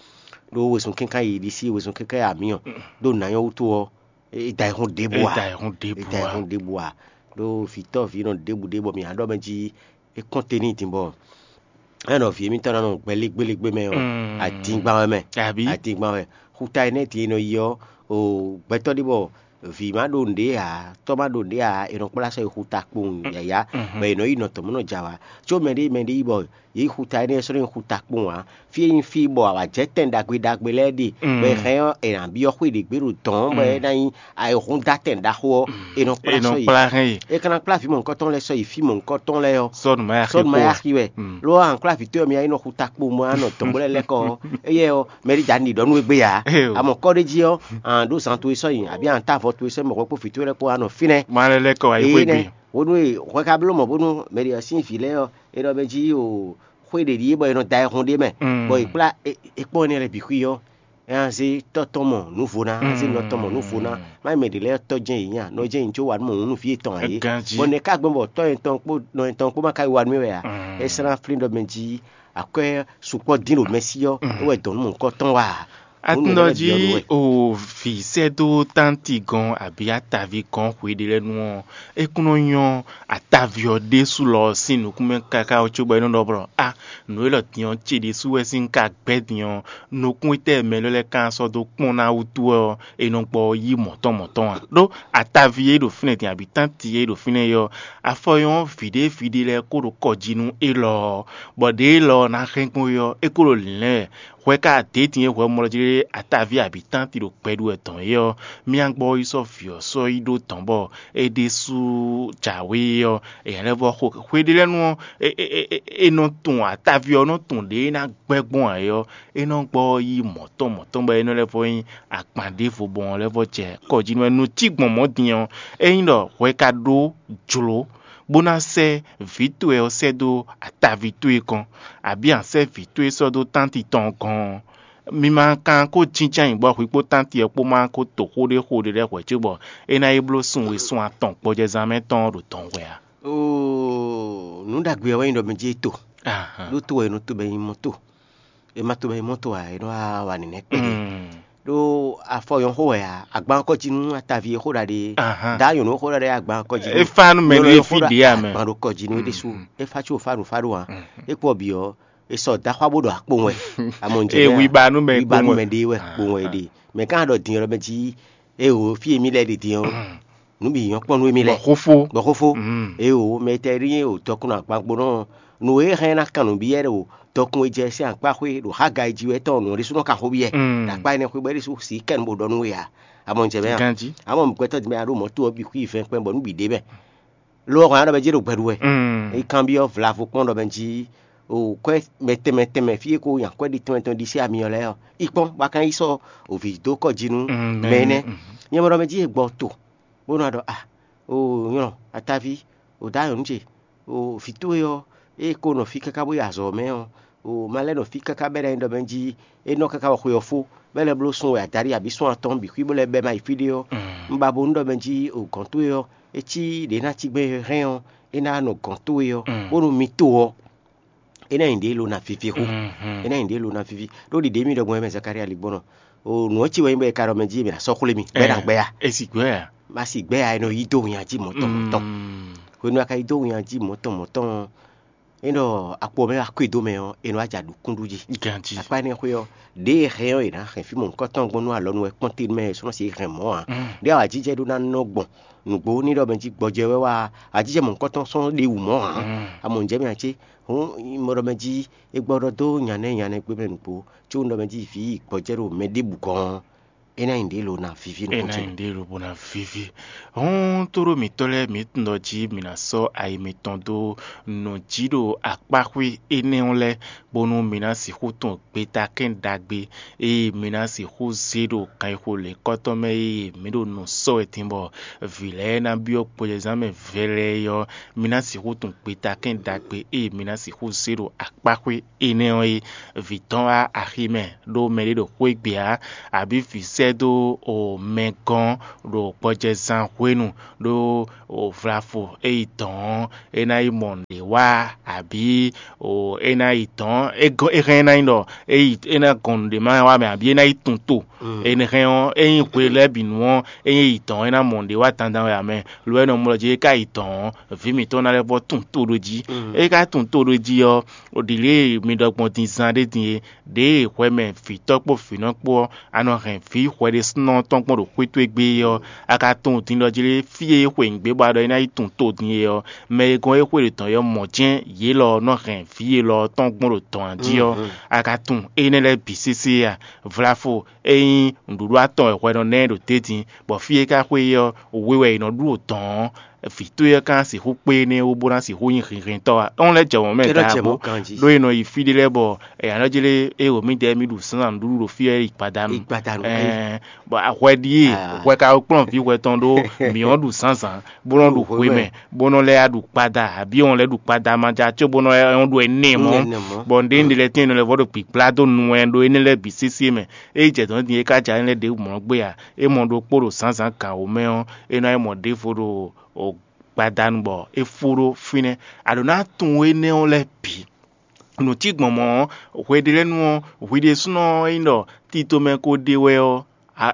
ɖó wezun kɛ́nká yi ɖisí wezun kɛ́nká yi amǐ ɔ́, ɖó nǎ nyɔ́ wútu ɔ́, é da ayihún ɖěbǔ È ǎ. Da ayihún ɖěbǔ È da ǎ. Ayihún ɖěbǔ ǎ. Ɖó vǐtɔ́ vǐ nɔ ɖěbǔ ɖě bɔ mǐ ná ɖɔ mɛ jí é kɔn te n'i din bɔ é nɔ vǐ émítɔn ná nɔ gbɛ légbélégbé mɛ ɔ́, adingban wɛ mɛ. Abǐ? Adingban wɛ. Xuta énɛ́ din e nɔ yi ɔ́, o gbɛtɔ́ ɖé bɔ vǐ má ɖo nǔɖé ǎ, tɔ́ má ɖo nǔɖé ǎ, è nɔ kplá sɔ́ yi xuta kpowun yǎyá, bɔ è nɔ yi nɔ tɔn mɔ̌ nɔ jɛ awǎ. Có mɛɖé mɛɖé yi bɔ yě yi xuta énɛ́ sɔ́ nɔ nyí xuta kpowun ǎ. Fí e nyí fí bɔ awǎjɛ tɛn ɖagbe ɖagbe lɛ́ɛ ɖe, bɔ è hɛn ɔ́, è nǎ byɔ́ xwé ɖě gbe ɖo dɔ̌n bɔ é ná nyí ayihúndátɛn ɖaxó ɔ́, è nɔ kplá È nɔ sɔ́ yi. Kplá hɛn yi. É ka ná kplá vǐ mɔ̌hunkɔtɔn lɛ́ɛ sɔ́ yi fí mɔ̌hunkɔtɔn lɛ́ɛ ɔ́, Sɔ́ nǔ ma yá xi sɔ́ nǔ ma kpo. Yá xi wɛ. Ló wá ankpláví towe ɔ́, mi yá yi nɔ xuta kpo mɔ anɔ dɔ̌n bó lɛ́ lɛ́ kɔ ɔ́, éyɛ́ ɔ́, mɛ ɖé ja ní ɖɔ nú we gbé ǎ. Eo. A mɔ kɔ́ ɖé jí ɔ́, an ɖó zan towe sɔ́ nyi, abǐ an tá avɔ towe sɔ́ nyi, mɔ̌kɔ kpó vǐ towe lɛ́ɛ kpó anɔ fínɛ́. Ma lɛ́ lɛ́ kɔ wá yi Eye xwé nɛ́, gbe. Hwenu e hwɛ ka bló mɔ bónú mɛ ɖě ɔ́ sín vǐ lɛ́ɛ ɔ́, è nɔ mɛ jí o xwé ɖě ɖíe bɔ è nɔ da ayihún ɖ'é mɛ, Mm. bɔ è kplá é é kpɔ́n énɛ́ lɛ́ɛ bǐ xwí ɔ́, é ná zé tɔ́ tɔn mɔ nǔvo ná, é ná zé nɔ tɔn mɔ nǔvo ná. Mm. Má nyí mɛ ɖě lɛ́ɛ tɔ́ jɛ́n yě nya, nɔ jɛ́n yě có wa nú mɔ nǔ nú vǐ yětɔn ǎ é. Ganjí. Bɔ nɛ̌ ká gbɔn bɔ tɔ́ yětɔn kpó nɔ yětɔn kpó ma ka yi wa nú é wɛ ǎ? Mm. É sɛ́ ná flín ɖɔ mɛ jí akwɛ́ sukpɔ́ dín ɖo mɛ sí ɔ́, Mm. é wɛ dɔn nú mɔ̌hunkɔtɔn wa ǎ. Atúndɔ jí o vǐ sɛ́ dó tánti gɔn abǐ ataví gɔn hwe ɖé lɛ́ɛ nu ɔ́, é kún nɔ nyɔ́ ataví ɔ́ ɖésú lɔ ɔ́ sín nukún mɛ káká ɔ́ cóbɔ é nɔ ɖɔ blɔ a nǔ élɔ́ din ɔ́ ce ɖésú wɛ sín ka gbɛ́ din ɔ́, nukún étɛ́ mɛ élɔ́ lɛ́ɛ ka sɔ́ dó kpɔ́n ná wútu wɛ ɔ́, è nɔ gbɔ yí mɔ̌tɔn mɔ̌tɔn ǎ. Ɖó ataví e ɖo fínɛ́ din abǐ tánti e ɖo fínɛ́ é ɔ́, afɔ nyɔ́ vǐɖé vǐɖé lɛ́ɛ kó ɖo kɔ jí nú élɔ́ ɔ́, bɔ ɖě élɔ́ ɔ́ ná hɛn gbɔn é ɔ́, é kó ɖo lǐnlɛ́n wɛ. Hwɛ ka dě din e hwɛ mɔ lɔ jí ɖé ataví abǐ tánti ɖo gbɛ ɖu wɛ dɔn é ɔ́, mía gbɔ yi sɔ́ vǐ ɔ́ sɔ́ yi ɖó dɔ̌n bɔ é ɖésú jǎwe ɔ́, èyǎ lɛ́ vɔ xo hwe ɖé lɛ́ɛ nu ɔ́, è nɔ tunwun ataví ɔ́ nɔ tunwun ɖě é ná gbɛ́ gbɔn ǎ é ɔ́, é nɔ gbɔ yi mɔ̌tɔn mɔ̌tɔn bɔ é nɔ lɛ́ vɔ nyí agban ɖěvo bɔ ɔ́ lɛ́ vɔ jɛ kɔ jí nú wɛ. Nǔ cí gbɔn mɔ̌ din ɔ́, ényí ɖɔ hwɛ ka ɖó jlǒ bó ná sɛ́ vǐ towe ɔ́ sɛ́ dó ataví towe gɔ́n, abǐ a sɛ́ vǐ towe sɔ́ dó tánti tɔn gɔ́n ɔ́, mi ma ka ko jínjɔ́n ayǐ bɔ hwi kpó tánti ɔ́ kpó ma ko to xó ɖé xo ɖé lɛ́ɛ hwɛ̌ cóbɔ é ná yi bló sun we sun atɔn gbɔjɛzán mɛ tɔn ɔ́ ɖo dɔn hwɛ ǎ. Oo, nǔ ɖagbe ɔ́ wɛ nyí ɖɔ mɛ jí é to. Ahan. Ɖó to wɛ è nɔ to bɔ è nyí mɔ to. È ma to bɔ è nyí mɔ to ǎ, è nɔ wá wa nǐnɛ́ kpɛɖé. Mm. Ɖó afɔ nyɔ̌ xó wɛ ǎ, agban kɔ jí nú ataví e xó ɖaɖe. Ahan. Dǎ nyɔ̌nu xó ɖaɖe agban kɔ jí nú É fa nú mɛ nyɔ̌nu ɖé e xó fí ɖa- ɖě ǎ mɛ. Agban ɖo kɔ jí nú é ɖésú. Mm. É fa có fa ɖo fa ɖo ǎ. Mm. É kpɔ bǐ ɔ́, è sɔ daxwa bó ɖo akpowun wɛ. Amɔ ń jɛ Ee, bɛ́ ǎ. Wiba nú mɛ Wiba nú kpowun wɛ. Mɛ ɖé wɛ kpowun wɛ ɖe. Mɛ gán ɖɔ din ɔ́ mɛ jí, é o fí e mí lɛ́ ɖe din ɔ́, nǔ bǐ nyɔ́ kpɔ́n nú émí Bɔ lɛ́ɛ. Xófó. Bɔ xófó. Mm. É o mɛ tɛ ɖí o dɔkun agbagbonɔ nǔ e hɛn ná kan nǔ byɔ́ ɖo dɔkun e jɛ sín akpáxwé ɖo Hagai jí wɛ tɔn nǔ ɖésúnɔ ka xó byɔ́. Mm. Ɖo akpá énɛ́ xwé bɔ é ɖésú sí kɛn bó ɖɔ nú we ǎ. Amɔ ń jɛ bɛ́ ǎ. Ganjí. Amɔ gbɛtɔ́ din mɛ a ɖó mɔ̌ to ɔ́ bǐ xwí vɛn kpɛn bɔ nú bǐ ɖe mɛ. Lo ɔ́ hɔn a ɖɔ mɛ jí ɖo gbɛ ɖu wɛ. Mm. É kanbyɔ́ vlavo kpɔ́n ɖɔ mɛ jí o kwɛ́ mɛ tɛnmɛ tɛnmɛ fí e ko nya kwɛ́ ɖi tɛnmɛ tɛnmɛ ɖi sí ami ɔ́ lɛ́ɛ ɔ́, yi kpɔ́n bɔ a ka yi sɔ́ o vǐ dó kɔ jí nú Mm, mɛ mɛ, énɛ́. Mm. Nyɛ mɔ ɖɔ mɛ jí e gbɔ to bó nɔ ɖɔ a o nyɔlɔ ataví o dǎ nyɔ̌nu ce o vǐ towe ɔ́, ée ko nɔ fí káká bó yi azɔ̌ mɛ ɔ́, o ma lɛ́ nɔ fí káká bɛ́ ná nyí ɖɔ mɛ jí é nɔ káká wɔ xwe ɔ́ fó, bɛ́ lɛ́ bló sun wɛ adaɖí abǐ sun atɔn bǐ xwí bó lɛ́ bɛ́ má yi fí ɖé ɔ́, Mm. un ba bo nú ɖɔ mɛ jí o gɔ̌n towe ɔ́, é cí ɖě ná cí gbɛn hɛn ɔ́, é ná nɔ gɔ̌n towe ɔ́, Mm. bónú mi to ɔ́, é ná nyí ɖě lo ná vivi xú. Mhm. É ná nyí ɖě lo ná vivi. Ɖó ɖiɖě mì ɖɔ gbɔn é mɛ Zakalía ligbɔnɔ. O nǔ ɔ́ ci wɛ nyí bɔ è ka ɖɔ mɛ jí è bǐ ná sɔ́ xwlé mì, bɔ é ná gbɛ ya. É sì gbɛ ya. Má sì gbɛ ya, è nɔ yí dó winnyá jí mɔ̌tɔn mɔ̌tɔn. Mm. Hwenu a ka yí dó winnyá jí mɔ̌tɔn mɔ̌tɔn ɔ́, é ɖɔ akpo mɛ wá kwe dó mɛ ɔ́, è nɔ wá jɛ aɖǔkúndú jí. Ganjí. Akpá énɛ́ xwé ɔ́, ɖě e hɛn ɔ́, è nǎ hɛn fí mɔ̌hunkɔtɔn gbɔn nú alɔnu wɛ kpɔ́n te mɛ è sɔ́ nɔ se hɛn mɔ̌ ǎ. Mm. Ɖě awǎjijɛ ɖó ná nɔ gbɔn nǔgbó ní ɖɔ mɛ jí gbɔjɛ wɛ wá awǎjijɛ mɔ̌hunkɔtɔn sɔ́ ɖe wǔ mɔ̌ ǎ. Mm. Amɔ ǹjẹ́ mi ǎ cé? Hǔn mɔ ɖɔ mɛ jí é gbɔ ɖɔ dó nyanɛ nyanɛ gbé mɛ nǔgbó, có un ɖɔ mɛ jí vǐ gbɔjɛ ɖo mɛ ɖěbǔ gɔ́n ɔ́, É ná nyí ɖě lo ná víví nukún ce. Ná nyí ɖě lo bó ná víví. Hɔn tóɖó mǐtɔn lɛ́ɛ mǐ tunwun ɖɔ jí mǐ ná sɔ́ ayi mitɔn dó nɔ jí ɖo akpáxwé énɛ́ ɔ́ lɛ́ɛ, bónú mǐ ná sixú tunwun gbeta kɛ́n ɖagbe ée mǐ ná sixú zé ɖo kanxixo lěkɔ́tɔn mɛ ée mǐ ɖo nǔ sɔ́ wɛ din bɔ vǐ lɛ́ɛ ná byɔ́ gbɔjɛzán mɛ vɛlɛɛ ɔ́, mǐ ná sixú tunwun gbeta kɛ́n ɖagbe ée mǐ ná sixú zé ɖo akpáxwé énɛ́ ɔ́ é. Vǐ tɔn wá axi mɛ ɖó mɛɖé ɖo xwé gbe ǎ, abǐ vǐ sɛ́ dó mɛ gɔ́n ɖo gbɔjɛzán hwenu ɖó vlavo é yi dɔ̌n ɔ́, é ná yi mɔ nǔɖé wa, abǐ é ná yi dɔ̌n é hɛn é ná nyí ɖɔ é yi é ná gɔn nǔɖé ma wa mɛ, abǐ é ná yi tunwun to. Énɛ́ hɛn ɔ́, ényí hwe lɛ́ɛ bǐ nu ɔ́, ényí é yi dɔ̌n é ná mɔ nǔɖé wa dandan wɛ ǎ mɛ. Lo ɔ́, é nɔ mlɔ jí é ka yi dɔ̌n ɔ́, vǐ mǐtɔn ná lɛ́ vɔ́ tunwun to ɖó jí. É ka tunwun to ɖó jí ɔ́, ɖǐlée mi ɖɔ gbɔn din zan ɖé din é, ɖěe hwɛ mɛ vǐtɔ́ kpó vǐnɔ kpó ɔ́, a nɔ hɛn vǐ hwɛɖésúnɔ tɔn gbɔn ɖo xwé towe gbe é ɔ́, a ka tunwun din ɖɔ jí lé fí e é xwe nǔgbé bɔ a ɖɔ é ná yi tunwun to din é ɔ́, mɛ e gɔ́n é xwe ɖě tɔn é ɔ́ mɔ̌ jɛ́n yě lɔ ɔ́ nɔ hɛn vǐ élɔ́ ɔ́ tɔn gbɔn ɖo dɔ̌n jí ɔ́, a ka tunwun énɛ́ lɛ́ɛ bǐ sésé a? Vlafo, ényí nǔɖuɖu atɔn wɛ hwɛ nɔ ná ɛ ɖo tɛ́ntin, bɔ fí e ka xwe é ɔ́, we wɛ è nɔ ɖu ɖo dɔ̌n ɔ́, vǐ towe ɔ́ ka ná sixú kpé énɛ́ wú bó ná sixú nyí hinhɛntɔ́ a? É wɔ́n lɛ́ jɛ mɔ̌ mɛ ɖěbǔ, ɖó è nɔ yi fí ɖé lɛ́ɛ bɔ è nǎ nɔ jlé é wǒ mǐdɛɛ mì ɖu sǎnzǎn nǔɖuɖu ɖo fí ɔ́ é yi gbadanu. Ɛɛ, bɔ hwɛ ɖíe hwɛ ka kplɔ́n vǐ hwɛ tɔn ɖó mǐ ɔ́ ɖu zǎnzǎn, bó nɔ́ ɖu hwe mɛ, bó nɔ́ lɛ́ ɖu kpada, abǐ wɔn lɛ́ ɖu kpada ma ja có bó nɔ́ ɖu ɛnɛ mɔ̌. Bɔ nǔɖé nǔɖé lɛ́ɛ tɛ́n è nɔ lɛ́ vɔ́ ɖo gbǐgbla dó nu wɛ ɖó énɛ́ lɛ́ɛ bǐ sésé mɛ. Ényí jɛ dɔ̌n din é ka ja énɛ́ lɛ́ɛ ɖěbǔ mɔ̌ gbé a? É mɔ ɖokpó ɖo zǎnzǎn gǎn wǒ mɛ ɔ́, é ná yi mɔ ɖěvo ɖo gbadanu bɔ é fó ɖó fínɛ́. A ɖǒ ná tunwun énɛ́ ɔ́ lɛ́ɛ bǐ. Nǔ cí gbɔn mɔ̌ ɔ́, hweɖélɛ́nu ɔ́, hwi ɖésúnɔ ɔ́ nyí ɖɔ tito mɛ ko ɖe wɛ ɔ́,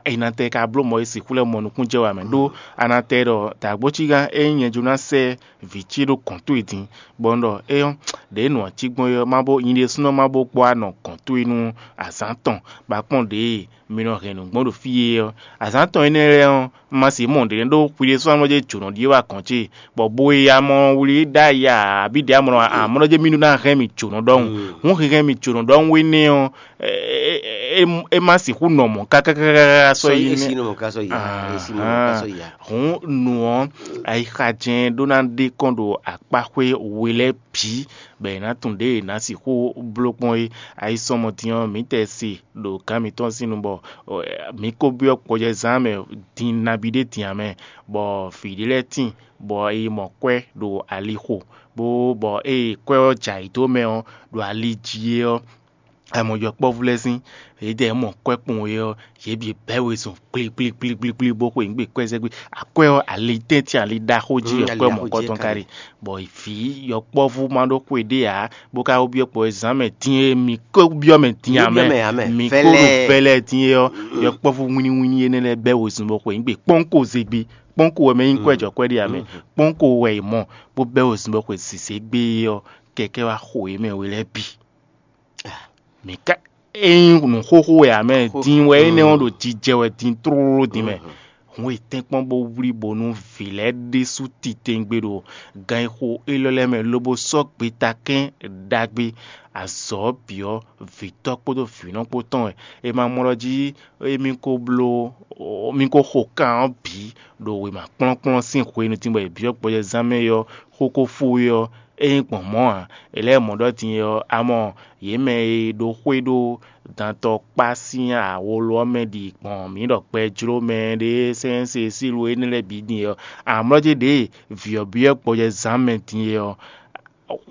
è nɔ tɛ ka bló mɔ̌ e sixú lɛ́ mɔ nukúnnú jɛ wɛ ǎ mɛ ɖó a nɔ tɛ ɖɔ dǎgbócígán ényí nyɛ jló ná sɛ́ vǐ ce ɖó gɔ̌n towe din, bɔ un ɖɔ éyɔ́, ɖěe nǔ ɔ́ cí gbɔn é ɔ́, má bó nyi ɖésúnɔ má bó gbɔ anɔ gɔ̌n towe nú azǎn tɔn, bɔ a kpɔ́n ɖěe mi nɔ hɛn nǔ gbɔn ɖo fí e ɔ́. Azǎn tɔn énɛ́ lɛ́ɛ ɔ́, un ma sixú mɔ nǔɖé ɖó hwi ɖésú ɔ́ nɔ jɛ jǒnɔ ɖíe wá gɔ̌n ce, bɔ bo e amɔ wlí ɖ'ayǐ ǎ, abǐ ɖě amɔ amɔ nɔ jɛ mì ɖó ná hɛn mì jǒnɔ ɖɔhun. Hǔn hɛn mì jǒnɔ ɖɔhun énɛ́ ɔ́, é má sixú nɔ mɔ̌ kákákáká sɔ́ yi nɛ́. Hǔn nǔ ɔ́, ayixa jɛ́n ɖó ná ɖe kɔn ɖo akpáxwé we lɛ́ɛ bǐ, bɔ è nǎ tunwun ɖěe è nǎ sixú bló kpɔ́n é. Ayisɔmɔdin ɔ́, mǐ tɛ se ɖo gǎn mǐtɔn sín nu bɔ mǐ ko byɔ́ gbɔjɛzán mɛ din nabí ɖé din ǎ mɛ, bɔ vǐ ɖé lɛ́ɛ tíin, bɔ è yi mɔ kwɛ́ ɖo ali xo, bó bɔ ée kwɛ́ ɔ́ jɛ ayǐ dó mɛ ɔ́, ɖo ali jí é ɔ́, a mɔ yɔkpɔ́vú lɛ́ɛ sín, yědɛɛ mɔ kwɛ́ kpɔn é ɔ́, yě bǐ bɛ́ wezun kplíkplíkplíkplí bó xwe nǔ gbe kwɛ́ zɛ́ gbé. Akwɛ́ ɔ́, ali tɛ́ntin ali ɖaxó jí wɛ kwɛ́ mɔ̌kɔtɔn ka ɖe, bɔ vǐ yɔkpɔ́vú ma ɖó xwe ɖé ǎ, bó ka wú byɔ́ kpɔ́ zǎn mɛ din e mǐ ko byɔ́ mɛ din ǎ mɛ, mǐ ko ɖo vɛlɛ din é ɔ́, yɔkpɔ́vú wínníwínní énɛ́ lɛ́ɛ bɛ́ wezun bó xwe nǔ gbe kpɔ́nko zé gbé. Kpɔ́nko wɛ mɛ nyí kwɛ́ jɔ kwɛ́ ɖé ǎ mɛ, kpɔ́nko wɛ è mɔ bó bɛ́ wezun bó xwe zǐzé gbé é ɔ́, kɛkɛ́ wá xo yě mɛ we lɛ́ɛ bǐ. Mǐ ka ényí nǔ xóxó wɛ ǎ mɛ, din wɛ énɛ́ ɔ́ ɖo jijɛ wɛ din tlóló din mɛ. Hǔn è tɛ́nkpɔ́n bó wlí bónú vǐ lɛ́ɛ ɖésú titewungbe ɖo gan e xo élɔ́ lɛ́ɛ mɛ lobo sɔ́ gbeta kɛ́n ɖagbe azɔ̌ ɔ́ bǐ ɔ́, vǐtɔ́ kpódó vǐnɔ kpó tɔn wɛ. È ma mɔ ɖɔ jí émí ko bló émí ko xo kan ɔ́ bǐ ɖo wěma kplɔ́nkplɔ́n sín hwenu din bɔ è byɔ́ gbɔjɛzán mɛ é ɔ́, xó ko fó é ɔ́, é nyí gbɔn mɔ̌ ǎ. È lɛ́ mɔ ɖɔ din é ɔ́, a mɔ yě mɛ e ɖo xwé ɖó dantɔkpá sín awolo ɔ́ mɛ ɖi gbɔn mǐ ɖɔ gbɛ jló mɛ ɖé sɛ́nsɛ́ sílu énɛ́ lɛ́ɛ bǐ din é ɔ́, amlɔ́ jɛ ɖěe vǐ ɔ́ byɔ́ gbɔjɛzán mɛ din é ɔ́,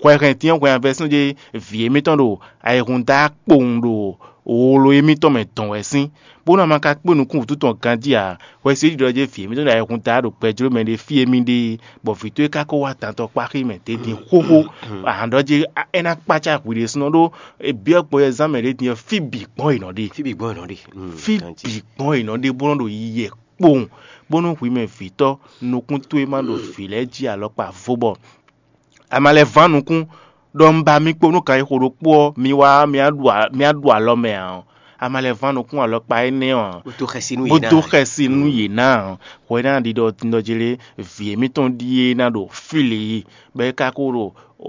hwɛ hɛn din ɔ́ hwɛ avɛsún jɛ vǐ émítɔn ɖo ayihún da kpowun ɖo wolo émítɔn mɛ dɔn wɛ sín, bónú a ma ka kpé nukún wǔtu tɔn ganjí ǎ, hwɛsí ɖiɖɔ jɛ vǐ émítɔn ɖo ayihún da ɖo gbɛjló mɛ ɖé fí émí ɖe, bɔ vǐ towe ka ko wá dantɔkpáxi mɛ ɖě din xóxó. Ahan ɖɔ jɛ é ná kpácá hwi ɖésúnɔ ɖó byɔ́ gbɔjɛzán mɛ ɖě din ɔ́, fí bǐ gbɔn è nɔ ɖe. Fí bǐ gbɔn è nɔ ɖe. Fí bǐ gbɔn è nɔ ɖe bó nɔ ɖo yiyɛ kpowun, bónú hwi mɛ vǐtɔ́ nukún towe ma ɖo vǐ lɛ́ɛ jí alɔkpa vo bɔ a ma lɛ́ ván nukún ɖɔ un ba mi kpo nú kan e xo ɖokpó ɔ́, mi wá mì á ɖu alɔ mɛ ǎ ɔ́, a ma lɛ́ ván nukún alɔkpa énɛ́ ɔ́ ǎ, bó dó xɛsi nú bó yě ná dó ǎ. Xɛsi nú yě ná ǎ. Hwɛ ná ɖiɖɔ tindɔjlé vǐ émítɔn ɖíe ná ɖo fí lě yi, bɔ é ka ko ɖo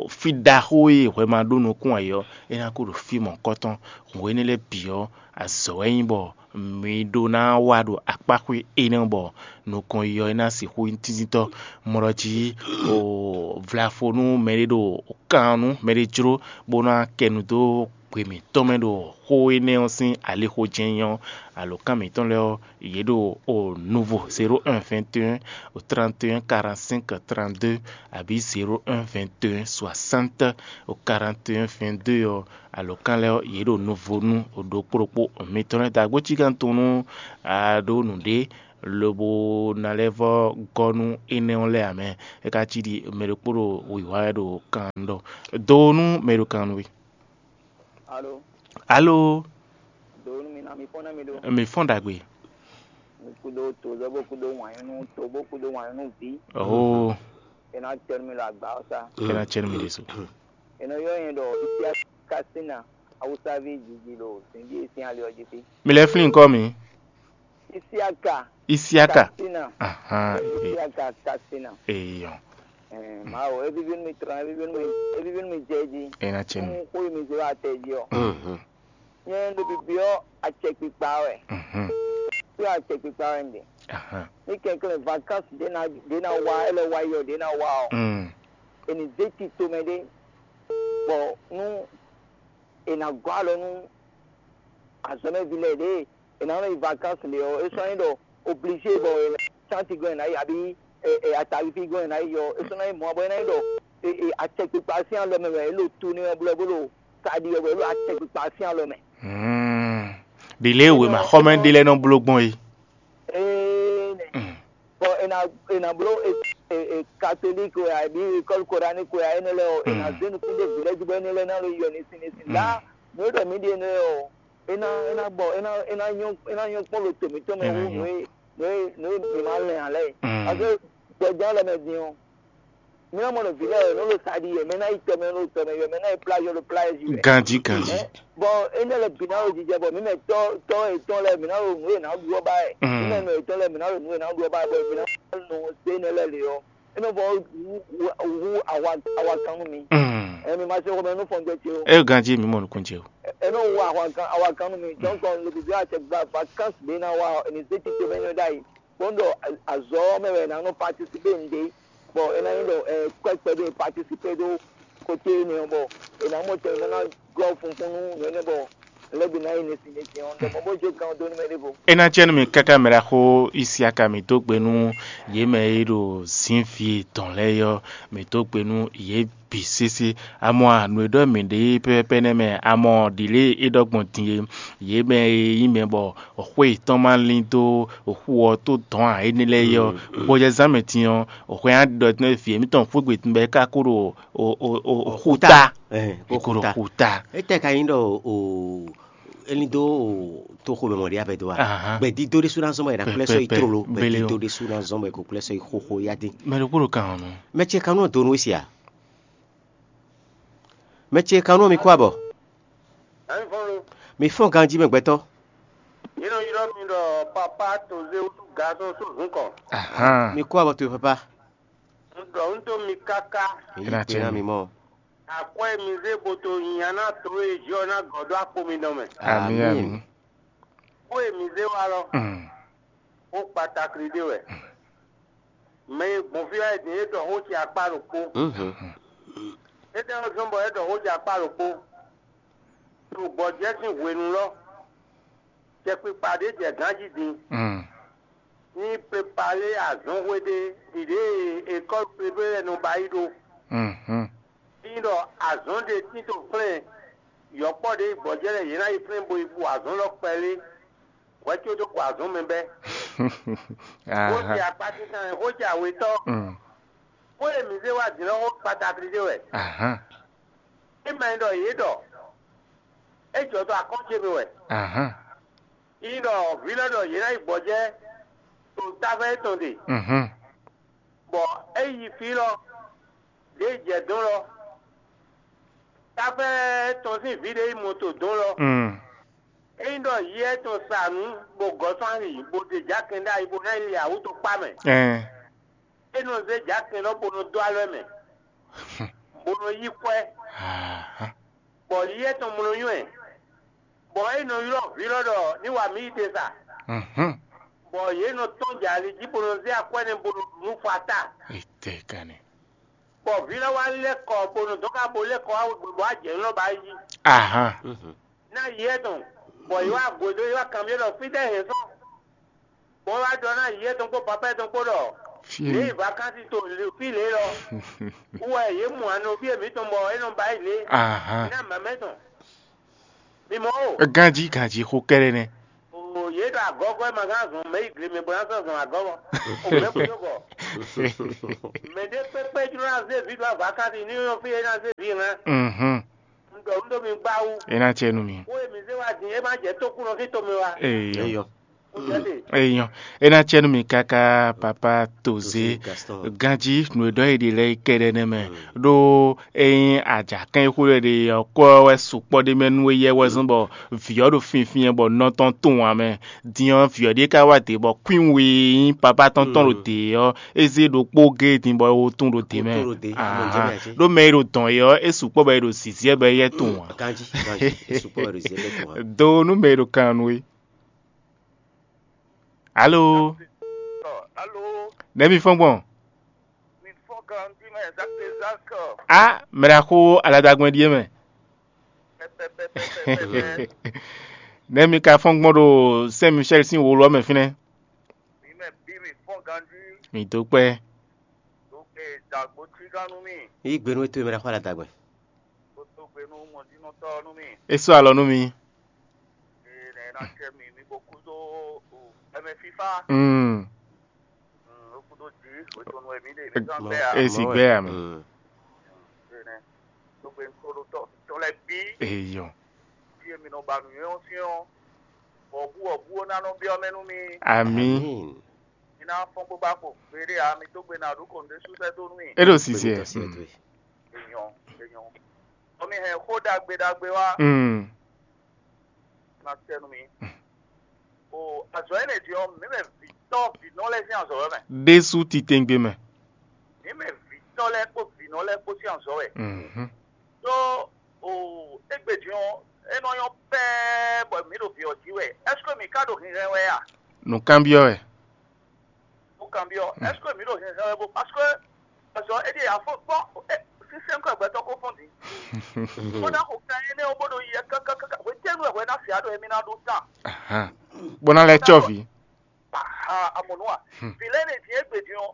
fí ɖaxó e hwɛ ma ɖó nukún ǎ é ɔ́, é ná ko ɖo fí mɔ̌kɔtɔn. Hwenu énɛ́ lɛ́ɛ bǐ ɔ́, azɔ̌ wɛ nyí bɔ mi ɖó ná wa ɖo akpáxwé énɛ́ bɔ nukɔn yɔ é ná sixú nyí tíntíntɔ́. Mɔ ɖɔ jí o vlafo nú mɛɖé ɖo kan nú mɛɖé jló bó ná kɛ nu dó gbe mǐtɔn mɛ ɖo xó énɛ́ ɔ́ sín alixo jɛ́n nyí ɔ́, alǒkan mǐtɔn lɛ́ɛ ɔ́, yě ɖo o nuvo zéro un vingt et un o trente et un quarante-cinq trente-deux abǐ zéro un vingt et un soixante o quarante et un vingt-deux ɔ́, alǒkan lɛ́ɛ ɔ́, yě ɖo nuvo nú ɖokpó ɖokpó mitɔn lɛ́ɛ. Dǎgbó cí gán tunwun nú a ɖó nǔɖé lobo ná lɛ́ vɔ́ gɔ́ nú énɛ́ ɔ́ lɛ́ɛ ǎ mɛ. É ka cí ɖi mɛ ɖokpó ɖo wǐwá wɛ ɖo kan ɖɔ do nú mɛ ɖo kan nú we. Alo, Alo, do nú mi ná mi fɔ́n ná mi ɖó. Mi fɔ́n ɖagbe. Mi kúdó tozɔ́ bó kúdó wǎnyú nú to bó kúdó wǎnyú nú vǐ. Oh, É ná tɛ́ nú mi ɖo agba ɔ́ sá. É ná cɛ nú mi ɖésú. È nɔ ylɔ́ nyɛ ɖɔ Isiaka Kasina, Awusaví jiji ɖo zǐnjí e sín ali ɔ́ jí fí. Mi lɛ́ flín nyǐkɔ mǐ. Isiaka Isiaka. Kasina. Ahan. Isiaka Kasina. Eyɔ. Ɛɛ, Mawu, é víví nú mi tlán, é víví nú mi, é víví nú mi jɛ jí. É ná cɛ nú mi. Xó e mi zé wá tɛ jí ɔ́. Mhm. Nyɛ ɖo bibyɔ́ acɛkpikpa wɛ. Mhm. Byɔ́ acɛkpikpa wɛ un ɖe. Ahan. Ní kɛnklɛ́n vacances ɖě ná ɖě ná wá, é lɔ wá yi ɔ́, ɖě ná wá ɔ́, Mm. è nǐ zé tito mɛ ɖé, bɔ nú è nǎ gɔ́ alɔ nú azɔ̌mɛví lɛ́ɛ ɖě è nǎ nɔ yi vacances ɖe ɔ́, é sɔ́ nyí ɖɔ obligé bɔ è nǎ sánti gɔ́n è nǎ yi abǐ e, e, ataví gɔ́n è nǎ yi ɔ́, é sɔ́ ná nyí mɔ̌ bɔ é ná nyí ɖɔ e, e, acɛkpikpa sín alɔ mɛ wɛ é ɖo tu nɛ́ ɔ́ blɔ́ bó ɖo taɖi ɔ́ wɛ é ɖo acɛkpikpa sín alɔ mɛ. Mm. Ɖi lě e wěma xɔmɛ ɖé lɛ́ɛ nɔ bló gbɔn é. Ee nɛ. Mm. Bɔ è nǎ è nǎ bló e, e, e, katolík wɛ abǐ ékɔ́lu koraník wɛ énɛ́ lɛ́ɛ ɔ́, è nǎ Mm. zé nukún ɖé vǐ lɛ́ɛ jí bɔ énɛ́ lɛ́ɛ ná ló yɔ nɛ́sín nɛ́sín. Mm. Lá nǔ e ɖɔ mǐ ɖe nɛ́ ɔ́, é ná é ná gbɔ é ná é ná nyɔ́ é ná nyɔ́ kpɔ́n ɖo to mǐtɔn mɛ É ná wú nyɔ́. nǔ e nǔ e nǔ e mǐ ma lɛn ǎ lɛ́ɛ. Mm. Parce que gbɔjɛ́ lɛ́ɛ mɛ din ɔ́, mǐ ná mɔ ɖo vǐ lɛ́ɛ wɛ nǔ ɖo sa ɖi wɛ, mɛ ná yi tɔ mɛ ɖo tɔ mɛ wɛ, mɛ ná yi plage ɖo plage wɛ. Ganjí, ganjí. Ɛ, bɔ énɛ́ lɛ́ɛ bǐ ná ɖo jijɛ bɔ mǐ mɛ tɔ́ tɔ́ yětɔn lɛ́ɛ mǐ ná ɖo nǔ e nǎ ɖu ɔ́ ba wɛ. Mm. Mǐ mɛ nɔ yětɔn lɛ́ɛ mǐ ná ɖo nǔ e nǎ ɖu ɔ́ ba wɛ, bɔ mǐ ná nɔ se énɛ́ lɛ́ɛ lě ɔ́, é nɔ vɔ hú hú awa awa kan nú mi. Mm. Ɛ mi ma se xɔmɛ nú fɔnjɛ ce o. É ganjí mǐ mɔ nukún ce o. Ɛ nɔ wu ahwankan awakan nú mi jɔn kɔn le bíbí àti gba vacances ɖé ná wa ɔ, ẹni zé tito mɛ nyɔ ɖ'ayǐ. Kpɔ́n ɖɔ azɔ̌ ɔ́ mɛ wɛ è nǎ nɔ participer ŋɖé, bɔ é ná nyí ɖɔ ɛ kɔ́ kpɛɖé participer ɖó côté énɛ́ ɔ́, bɔ è nǎ mɔ tɛn ná gɔ́ funfun nú nǔ énɛ́ bɔ lɛ́ bǐ ná yi nɛsí nɛsí ɔ́, ɖɔ mɔ bó jó kan ɔ́ dó nú mɛ ɖěvo. É ná jɛ nú mi káká mɛ ɖaxó Isiaka mǐ dó gbe nú yě mɛ e ɖo zǐnví tɔn lɛ́ɛ é ɔ́, mǐ dó gbe nú yě bǐ sésé. Amɔ a, nǔ e ɖɔ mǐ ɖe pɛ́pɛ́pɛ́ nɛ́ mɛ, amɔ ɖǐlée é ɖɔ gbɔn din é, yě mɛ e nyí mɛ bɔ xwé yětɔn ma lín dó xu ɔ́ tó dɔ̌n ǎ énɛ́ lɛ́ɛ é ɔ́, gbɔjɛzán mɛ din ɔ́, xwé nya ɖɔ tɛ́nɛ́ vǐ émítɔn xwé gbe bɔ é ka kó ɖo o- o- o- o- xúta. Ɛ, È kó ɖo xúta. Xúta. Étɛ́ ka nyí ɖɔ o elin dó o toxo mɛ mɔ̌ ɖé abɛ dó a? Ahan. Gbɛdídó ɖésú ná zɔn bɔ è nǎ kplɛ́ sɔ́ yi Pɛpɛpɛ. Tlóló, Bele o. Gbɛdídó ɖésú ná zɔn bɔ è ko kplɛ́ sɔ́ yi xóxó yá dín. Mɛ ɖokpó ɖo kan ɔ́ nú. Mɛ ce kanú ɔ́ donu wé sia? Mɛ ce kanú ɔ́ mi kó abɔ? Ɛn vɔn lo. Mi fɔ́n ganjí mɛ gbɛtɔ́. Yě nɔ ylɔ́ mi ɖɔ papa tozé wútu gazɔn só zun kɔ. Ahan. Mi kó abɔ towe papa. Un ɖɔ un dó mi káká. Èyí Kena pé ná cɛ́nú. Mi mɔ. Akwɛ́ mi zé boto nyinya ná to e jɔ ná gɔ̌ ɖó akpo mi dɔn mɛ. Ami, Ami. Ami. Xó e mi zé wá lɔ, Mm. xó kpatakli ɖé wɛ. Mɛ e gbɔn fí wá é din é ɖɔ xó ce akpá ɖokpó. Mhm. É ɖɔ zɔ́n bɔ é ɖɔ xó ce akpá ɖokpó. To gbɔjɛ́ sín hwenu lɔ, cɛkpikpa ɖé jɛ gǎn jí din. Mm. Ní prepare azɔ̌nxwé ɖé ɖiɖě e école privée lɛ́ɛ nɔ ba yi ɖó. Mhm. Ní ɖɔ azɔ̌n ɖé tito flɛ́n yɔ̌kpɔ́ ɖé yi gbɔjɛ́ lɛ́ɛ yě ná yi flɛ́n bo yi bu azɔ̌n lɔ kpɛlé. Hwɛ có dó xo azɔ̌n mɛ bɛ́. Xó ce Ahan. Akpá tíntan wɛ, xó ce awetɔ́. Mm. Xó e mǐ zé wá dǐn lɔ xó kpatakli ɖé wɛ. Ahan. É ma nyí ɖɔ yě ɖɔ é jɔ dó akɔ́n ce mɛ wɛ. Ahan. Yi ɖɔ vǐ lɔ ɖɔ yě ná yi gbɔjɛ́ to táfɛ étɔn ɖe, Mhm. Bɔ é yi fí lɔ, ɖě jɛ dɔn lɔ, táfɛ tɔn sín vǐ ɖé yi moto dɔn lɔ, Mm. Ényí ɖɔ yɛ tɔn sa nǔ bó gɔ́ sɔ́ ali, bó ɖe jǎkɛn ɖ'ayǐ bó ná yi li awǔ tɔn kpá mɛ, Ɛn. é nɔ zé jǎkɛn lɔ bó nɔ dó alɔ mɛ, bó nɔ yí kwɛ́, Ahan. Bɔ yɛ tɔn mlɔ nywɛ́, bɔ é nɔ ylɔ́ vǐ lɔ ɖɔ ní wa mǐ yi te sa, Mhm. Bɔ yě nɔ tɔ́n jɛ ali jí bó nɔ zé akwɛ́ nɛ́ bó nɔ ɖu nú Fata. Etɛ́ ka nɛ́. Bɔ vǐ lɔ wá lɛ́ kɔ bó nɔ dɔn ká bó lɛ́ kɔ wá wegbe bɔ ajɛ nylɔ́ ba yi. Ahan. Ná yɛ tɔn, bɔ yě wá gwe dó yě wá kanbyɔ́ ɖɔ fítɛ́ hɛn sɔ́. Bɔ é wá ɖɔ ná yɛ tɔn kpó papá tɔn kpó ɖɔ Fí lě e. Yi vakansi to fí lě lɔ. Wú wɛ yě mɔ anɔví e mǐtɔn bɔ é nɔ ba yi lě. Ahan. Ná mamɛ tɔn. Mi mɔ o. Ganjí ganjí xó kɛ́ɖɛ́ nɛ́. O yě ɖo agɔ́gɔ́ e ma gán zɔn mɛ yi gle mɛ bó ná sɔ́ zɔn agɔ́gɔ́. O mɛ kúndó bɔ. Mɛ ɖé kpékpé jló ná zé vǐ ɖo avǎ káɖi ní yɔ́n fí é ná zé vǐ hɛn. Mhm. Un ɖɔ un ɖó mi gbá wú. É ná cɛ nú mi. Xó e mi zé wá din é má jɛ tókúnɔ sín tomɛ wá. Eyɔ. Eyɔ. Ó jɛ ɖe. Eyɔ. É ná cɛ nú mi káká papa Tozé. Tozé Gaston. Ganjí nǔ e ɖɔ é ɖe lɛ́ɛ yi kɛɖɛ́ nɛ́ mɛ. Ɖó ényí ajǎkɛ́n e xó lɛ́ɛ ɖe ɔ́ kɔ wɛ sukpɔ́ ɖ'é mɛ nú éyɛ́ wɛ zɔ́n bɔ vǐ ɔ́ ɖo finfin bɔ nɔ tɔn tunwun ǎ mɛ. Din ɔ́, vǐ ɔ́ ɖíe ka wá dě bɔ kwín we nyí papá tɔn tɔn ɖo dě ɔ́, é zé ɖokpó géé din bɔ é wo tún ɖo dě mɛ. Wo tún ɖo dě, amɔ̌ jɛ mɛ ǎ cé? Ɖó mɛ e ɖo dɔn é ɔ́, é sukpɔ́ bɔ é ɖo zǐziɛ bɔ é yɛ tunwun ǎ. Ganjí, ganjí, é sukpɔ́ bɔ é ɖo zǐziɛ bɔ é tunwun ǎ. Do nú mɛ e ɖo kan nú é. Alo. Alo. Nɛ̌ mi fɔ́n gbɔn? Mi fɔ́n ganjí mɛ, Zak de Zak. A, mɛ ɖaxó aladagbɛn ɖíe mɛ. Pɛpɛpɛpɛpɛ. Nɛ̌ mi ka fɔ́n gbɔn ɖo Saint Michel sín wǒ lɔ mɛ fínɛ́? Mi mɛ bí mi fɔ́n ganjí. Mi dó kpɛ́. Dó ke dagbo cí gán nú mi. Yí gbe nú we towe mɛ ɖaxó aladagbɛn. Kó dó gbe nú mɔjínɔtɔ́ nú mi. É sɔ́ alɔ nú mi. Ee, nɛ ná cɛ mi mi bo kú dó o ɛmɛ fífá. Mm. Mm, ó kú dó jí, ó tó nu ɛmí ɖe mi gán gbɛ a. É sì gbɛ a mɛ. Mm. Ee, nɛ. Dó gbe nú kó ɖó tɔ tɔ lɛ bí. Eyɔ. Bí èmi nɔ ba nǔnywɛ́ ɔ́ sín ɔ́, wɔ̌bú wɔ̌bú ó ná nɔ byɔ́ mɛ nú mi. Àmín. Àmín. Mi ná fɔ́n bó bá kpo gbeɖé ǎ, mi dó gbe ná ɖó kɔn ɖé sú sɛ́ dó nú mi. É ɖo sisi ɛ. Èèyàn, èèyàn. Ɔmi hɛn xó ɖagbe ɖagbe wá. Mm. Ná tɛ nú mi. O azɔ̌ énɛ́ din ɔ́, mǐ mɛ vǐtɔ́ vǐnɔ lɛ́ɛ sín azɔ̌ wɛ mɛ. Ɖésú titewungbe mɛ. Mǐ mɛ vǐtɔ́ lɛ́ɛ kpó vǐnɔ lɛ́ɛ kpó sín azɔ̌ wɛ. Mhm. Ɖó o égbé din ɔ́, é nɔ nyɔ́ pɛ́ɛ́ bɔ mǐ ɖo vǐ ɔ́ jí wɛ. Ɛ́seke mǐ ka ɖo hinhɛn wɛ a? Nǔkanbyɔ́ wɛ. Nǔkanbyɔ́, ɛ́seke mǐ ɖo hinhɛn wɛ bó? Parce que azɔ̌ é ɖíe afɔ kpɔ́n sínsɛ́n kɔ gbɛtɔ́ kó fɔ́n din. Bó ná xo kan énɛ́ ɔ́ bó ɖo yi kákákáká hwetɛ́nu wɛ hwɛ ná fia ɖo émí ná ɖó tan. Ahan. Bó ná lɛ́ cɔ́ vǐ. Aha, amɔ̌ nú a? Vǐ lɛ́ɛ ɖe vǐ égbé din ɔ́,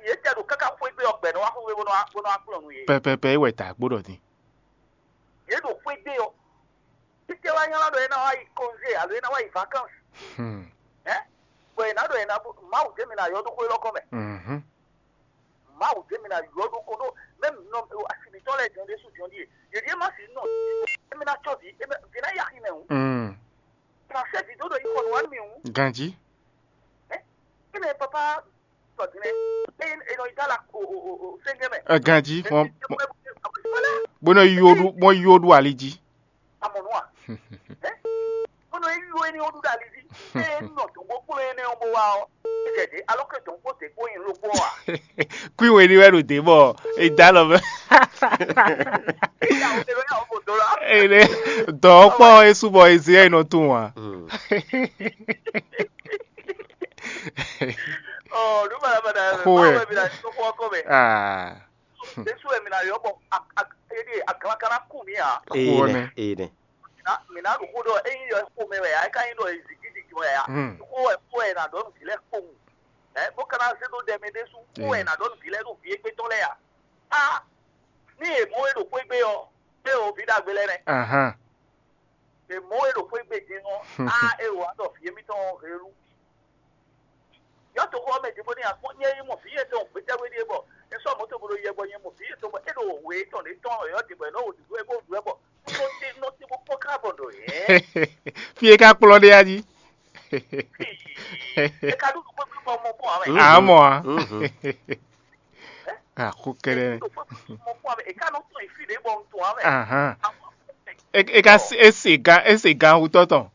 yě tɛ ɖo káká xwé gbé ɔ́ gbɛ nɔ wá xwé gbé bó nɔ wá kplɔ́n nú yě. Pɛpɛpɛ é wɛ ta gbó ɖɔ din. Yě ɖo xwé gbé ɔ́, títí wá nylá ɖɔ é ná wá yi congé alo é ná wá yi vacances. Hmm. Ɛ bɔ è nǎ ɖɔ è nǎ Mawu jɛ mi ná yɔ ɖó xwé lɔkɔ mɛ. Mhm. Mawu jɛ mi ná yɔ ɖó ko ɖó mɛm nɔ asi mǐtɔn lɛ́ɛ jɔn ɖésú jɔn ɖíe. Yě ɖíe má sì nɔ émi ná cɔ́ vǐ émi vǐ ná yi axi mɛ hǔn. Mm. Ná sɛ vǐ dó ɖo yi xɔ nǔ wá nú mì hǔn. Ganjí. Ɛ émi papa sɔ din lɛ eye e nɔ yi dó ala o o o o sɛnjɛ mɛ. Ɛ ganjí. Ɛ fɔn. Bó nɔ yi wo ɖu bó yi wo ɖu ali jí. Amɔnua. Ɛ bó nɔ yi wo éní wo ɖu ɖo ali jí. Eye nɔ dɔn bó kplɔ́n énɛ́ ɔ́ bó wá ɔ́. Jɛ dě alɔ ke dɔn kpó dě kpó nyi ló kpó a. Kú ìwé ni wɛ ɖo dě bɔ e da lɔ mɛ. Ìyàwó tẹ ló yà ó bò dó la. Ele dɔ kpɔ esu bɔ ezi ɛ nɔ tún wa. Ɔ ló bàdà bàdà Xó ɛ. Báwo ẹ bí la tó kọ́ ọkọ mẹ. Ah. Jésù ɛ mi na yɔ bɔ a a edi agalakana kú mi a. Eyi Xó nɛ. Nɛ. Eyi nɛ. Mina mina ɖo xó ɖɔ eyin yɔ xó mɛ wɛ a eka yin ɖɔ ezigi didi wɛ a. Hmm. Xó ɛ xó ɛ na ɖɔ nu vi lɛ kpowun. Ɛ bó kana se ɖo ɖɛ mɛ ɖésú xó ɛ na ɖɔ nu vi lɛ ɖo vi égbé tɔn lɛ a. A ní èmɔ wɛ ɖo xwé gbé ɔ, é o vi ɖagbe lɛ nɛ. Ahan. Èmɔ e ɖo xwé gbe din ɔ́, á é wǎ ɖɔ vǐ émítɔn helu. Yɔ́ toxo ɔ́ mɛ din bó ní akpɔ́n nyɛ yi mɔ vǐ yětɔn gbétɛ́wé ɖíe bɔ é sɔ́ mɔ̌ tɔn bó ɖo yɛ bɔ nyɛ mɔ vǐ yětɔn bɔ é ɖo wě tɔn ɖě tɔn yɔ́ din bɔ é nɔ wo ɖǔɖú wɛ bó ɖu wɛ bɔ nɔ te nɔ te bó kpɔ́n ká bɔ ɖɔ yɛ. Fí e ka kplɔ́n ɖe a jí. É ka ɖu nǔ kpékpé bɔ mɔ kpɔ́n ǎ mɛ. À mɔ a. Mhm. Àkó kɛ́ɖɛ́. Mɔ kpɔ́n ǎ mɛ é ka nɔ tɔn yi fí ɖě bɔ un tɔn ǎ mɛ. Ahan. E e ka se- e se gan e se gan wutɔ tɔn.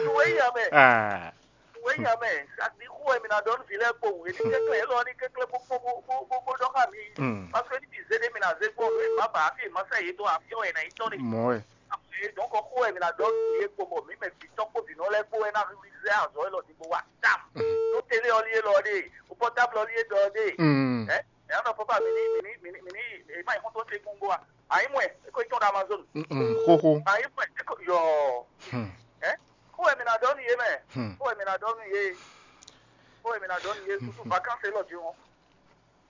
Nǔwéyinmɛ, Ah, nǔwéyinmɛ, sadi xó wɛ mi ná ɖɔ nú vǐ lɛ́ɛ kpowun, é ní kɛ́klɛ́ élɔ́ ní kɛ́klɛ́ bó bó bó bó bó bó ɖɔ xá mi. Mm. Parce que ní mi zé ɖé mi ná zé gbɔn nú è má ba afi è má sɛ yě dó afi ɔ́ è nǎ yi tɔ́n ɖe. Mɔ̌ wɛ. Afi donc xó wɛ mi ná ɖɔ nú yě kpo bɔ mǐ mɛ vǐ tɔn kpó vǐ nɔ lɛ́ɛ kpó wɛ ná rizɛ azɔ̌ élɔ́ ɖi bó wa tam. Nú télé ɔ́ lí élɔ́ ɖe, o pɔtábl ɔ́ lí é ɖɔ ɖe. Mm. Ɛ ɛ nɔ papa mi ní mi ní mi ní mi ní èyí má nyí xɔ́ntɔn ce gbɔngbɔ a? Àyí mɔ ɛ é kó tɔn ɖo Amazon. Mm, mm, xóxó. Àyí mɔ ɛ é kó yɔ. Hmm. Ɛ kó wɛ mi ná ɖɔ nú yé mɛ. Hmm. Kó wɛ mi ná ɖɔ nú yé. Kó wɛ mi ná ɖɔ nú yé. Tutu vacances lɔ di wọn.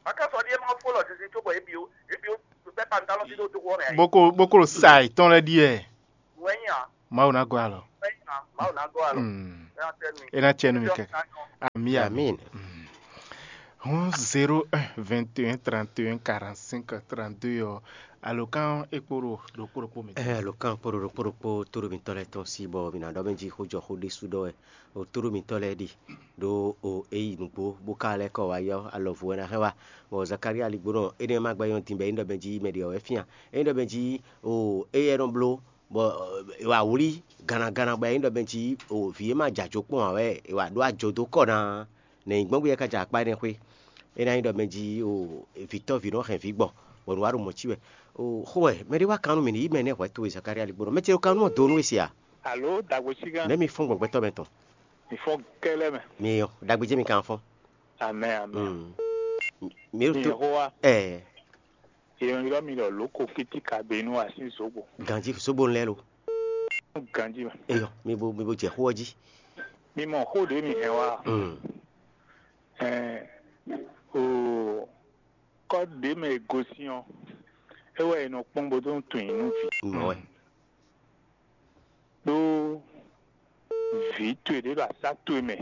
Vacances ɔ́ ɖíe má fó lɔ zinzin cóbɔ é bio é bio bɛ́ pantalon dídó dó wɔ mɛ. Boko boko ɖo sa yětɔn lɛ́ɛ ɖíe. Wɛnyí a? Mawu ná gɔ́ alɔ. Wɛnyí a? Mawu ná gɔ́ alɔ. Mm. Ɛ ná tɛ nú mi. É ná tse nú mi kɛkɛ. Ami ami. Amin. Mm. Hɔn zéro un vingt et un trente et un quarante-cinq trente-deux ɔ́, alɔkan é kpó ɖo ɖokpó ɖokpó mi. Ɛ alɔkan kpó ɖo ɖokpó ɖokpó tóɖo mitɔn lɛ́ɛ tɔn sí bɔ mi ná ɖɔ mɛ jí xó jɔ xó ɖésú ɖɔ wɛ. O tóɖo mitɔn lɛ́ɛ ɖi ɖó o é yi nǔgbó bó ka lɛ́ kɔ wá yɔ alɔvu wɛ ná hɛn wá. Bɔ Zakaria ligbónɔ énɛ́ ma gbɛ́ nyɔ́ din bɔ é nyí ɖɔ mɛ jí mɛ ɖě ɔ́ wɛ fían. É nyí ɖɔ mɛ jí o éyɛ́ nɔ bló bɔ è wǎ wlí gannaganna bɔ é nyí ɖɔ mɛ jí o vǐ e ma jɛ ajo kpɔ́n ǎ wɛ è wǎ ɖó ajo dó kɔ ná. Nɛ̌ nyí gbɔn bó yɛ ká jɛ akpá énɛ́ xwé? É ná nyí ɖɔ mɛ jí o vǐtɔ́ví nɔ hɛn vǐ gbɔ bɔ nǔ wa ɖo mɔ̌ cí wɛ. O xó wɛ mɛ ɖé wá kan nú mì ní yí mɛ nɛ́ hwɛ towe Zakaria ligbónɔ mɛ ce ɖo kan nú ɔ́ dó nú we se a? Alo dagbo sigan. Nɛ̌ mi fɔ́n gbɔgbɛtɔ́ mɛ tɔn? Mi fɔ́n kɛlɛ mɛ. Mi yɔ dagbe jẹ́ mi kan fɔ́n. Amɛ amɛ. Mm. Mi Mi ɖo tó yɛn xó wa. Ɛɛ Yɛn ylɔ́ mi ɖɔ lǒ ko kítíkà be nú asín zǒgbo. Ganjí zǒgbo lɛ́ɛ lo. Ganjí mɛ. Eyɔ mi bo mi bo jɛ xó ɔ́ jí. Mi mɔ xó ɖě mi hɛn wá. Mm. Ɛɛ o kɔ́ ɖě mɛ e gosín ɔ́, é wɛ è nɔ kpɔ́n bó dó tunwun nú vǐ. Mɔ wɛ. Ɖó vǐ towe ɖě ɖo asá towe mɛ,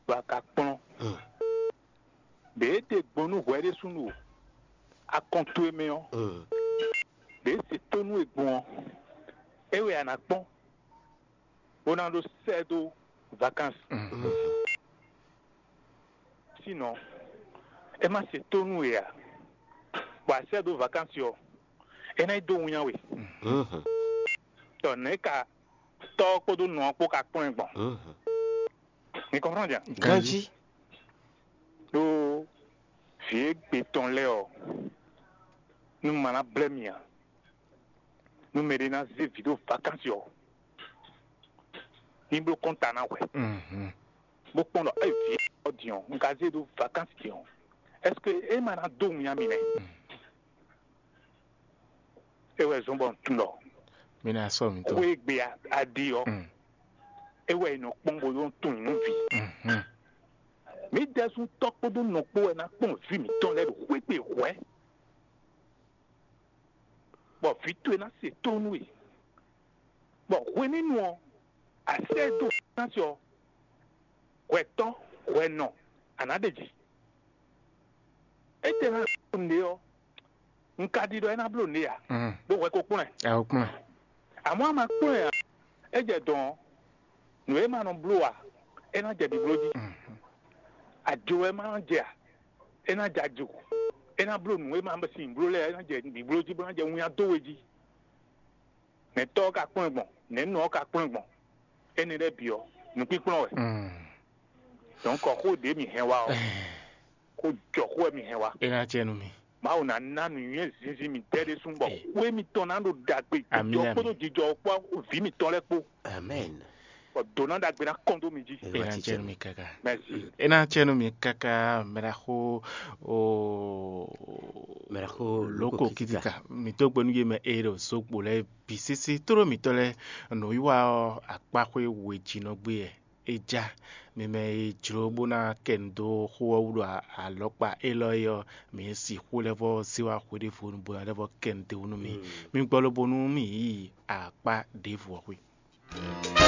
bɔ a ka kplɔ́n. Mm. Ɖě e ɖe gbɔn nú hwɛ ɖésú ɖo akɔn towe mɛ ɔ́, Mm. ɖě e se tónú e gbɔn ɔ́, é wɛ a nǎ kpɔ́n, bó ná ɖó sɛ́ dó vakansi. Mm. Sinon, é ma se tónú we ǎ, bɔ a sɛ́ dó vakansi ɔ́, é ná yi dó winnyá we. Mm. Tɔ nɛ̌ ka tɔ́ ɔ́ kpódó nɔ ɔ́ kpó ka kplɔ́n ɛ gbɔn? Mm. Mi kɔnplɔ́n jan? Ganjí. Ɖó vǐ e gbe tɔn lɛ́ɛ ɔ́, nú ma ná blɛ́ mi ǎ. Nú mɛɖé ná zé vǐ ɖo vakansi ɔ́, ní bló kɔ́nta ná hwɛ, Mhm. bó kpɔ́n ɖɔ é vǐ ɔ́ din ɔ́, un ka zé ɖó vakansi din ɔ́, ɛseke é ma ná dó winnyá mi nɛ́? Mm. É wɛ zɔ́n bɔ un tunwun ɖɔ Mi ná sɔ́ mi tó. Xwé e gbe a- a ɖe ɔ́, Mm. é wɛ è nɔ kpɔ́n bó nɔ tunwun nú vǐ. Mhm. Mǐ ɖɛ́sútɔ́ kpódó nɔ kpó wɛ ná kpɔ́n vǐ mǐtɔn lɛ́ɛ ɖo xwé gbe hwɛ̌, bɔ vǐ towe ná se tónú we, bɔ hwenɛ́nu ɔ́, a sɛ́ ɛ dó fínásí ɔ́, hwɛtɔ́ hwɛnɔ a nǎ ɖe ji. Étɛ́ ná bló nǔɖé ɔ́, un ka ɖi ɖɔ é ná bló nǔɖé ǎ, Mm. bó hwɛ ko kplɔ́n ɛ. Ɛ o kplɔ́n. Amɔ̌ a ma kplɔ́n ɛ ǎ, é jɛ dɔ̌n ɔ́, nǔ e ma nɔ bló ǎ, é ná jɛ ɖibló jí. Mhm. Ajo wɛ ma nɔ jɛ ǎ, é ná jɛ ajo. É ná bló nǔ e ma sin bló lɛ́ɛ, é ná jɛ ɖibló jí bó ná jɛ winnyá dó we jí. Nɛ̌tɔ́ ɔ́ ka kplɔ́n ɛ gbɔn, nɛ̌nɔ ɔ́ ka kplɔ́n ɛ gbɔn. Énɛ́ lɛ́ɛ bǐ ɔ́, nǔkpínkplɔ́n wɛ. Mm. Donc xó ɖě mǐ hɛn wá ɔ́, xó jɔ xó wɛ mǐ hɛn wá. É ná jɛ nú mi. Mawu ná ná nǔnywɛ́ zinzin mǐtɛn ɖésú bɔ Ee. Xwé mitɔn ná ɖo ɖagbe Amina, jijɔ kpódó amina. Jijɔ kpó vǐ mitɔn lɛ́ɛ kpó. Amen. Bɔ dǒ ná ɖagbe ná kɔn dó mi jí. É ná jɛ nú mi káká. Merci. É ná jɛ nú mi káká mɛɖaxó o Mɛɖaxó lóko Lóko kítíkà. Kítíkà. Mi dó gbe nú yé mɛ eye ɖo zokpo lɛ́ɛ bǐ sésé tóɖó mǐtɔn lɛ́ɛ nǔwiwa ɔ́ akpáxwé wejínɔ gbé wɛ. É já mi mɛ e jló bó ná kɛ nu dó xó ɔ́ wú ɖo a- alɔkpa élɔ́ é ɔ́, mi sixú lɛ́ vɔ́ zé wá xwé ɖěvo nu bó ná lɛ́ vɔ́ kɛ nu d'é wú nú mì. Mm. Mi gbɔ lobo nú mì yi akpá ɖěvo ɔ́ xwé.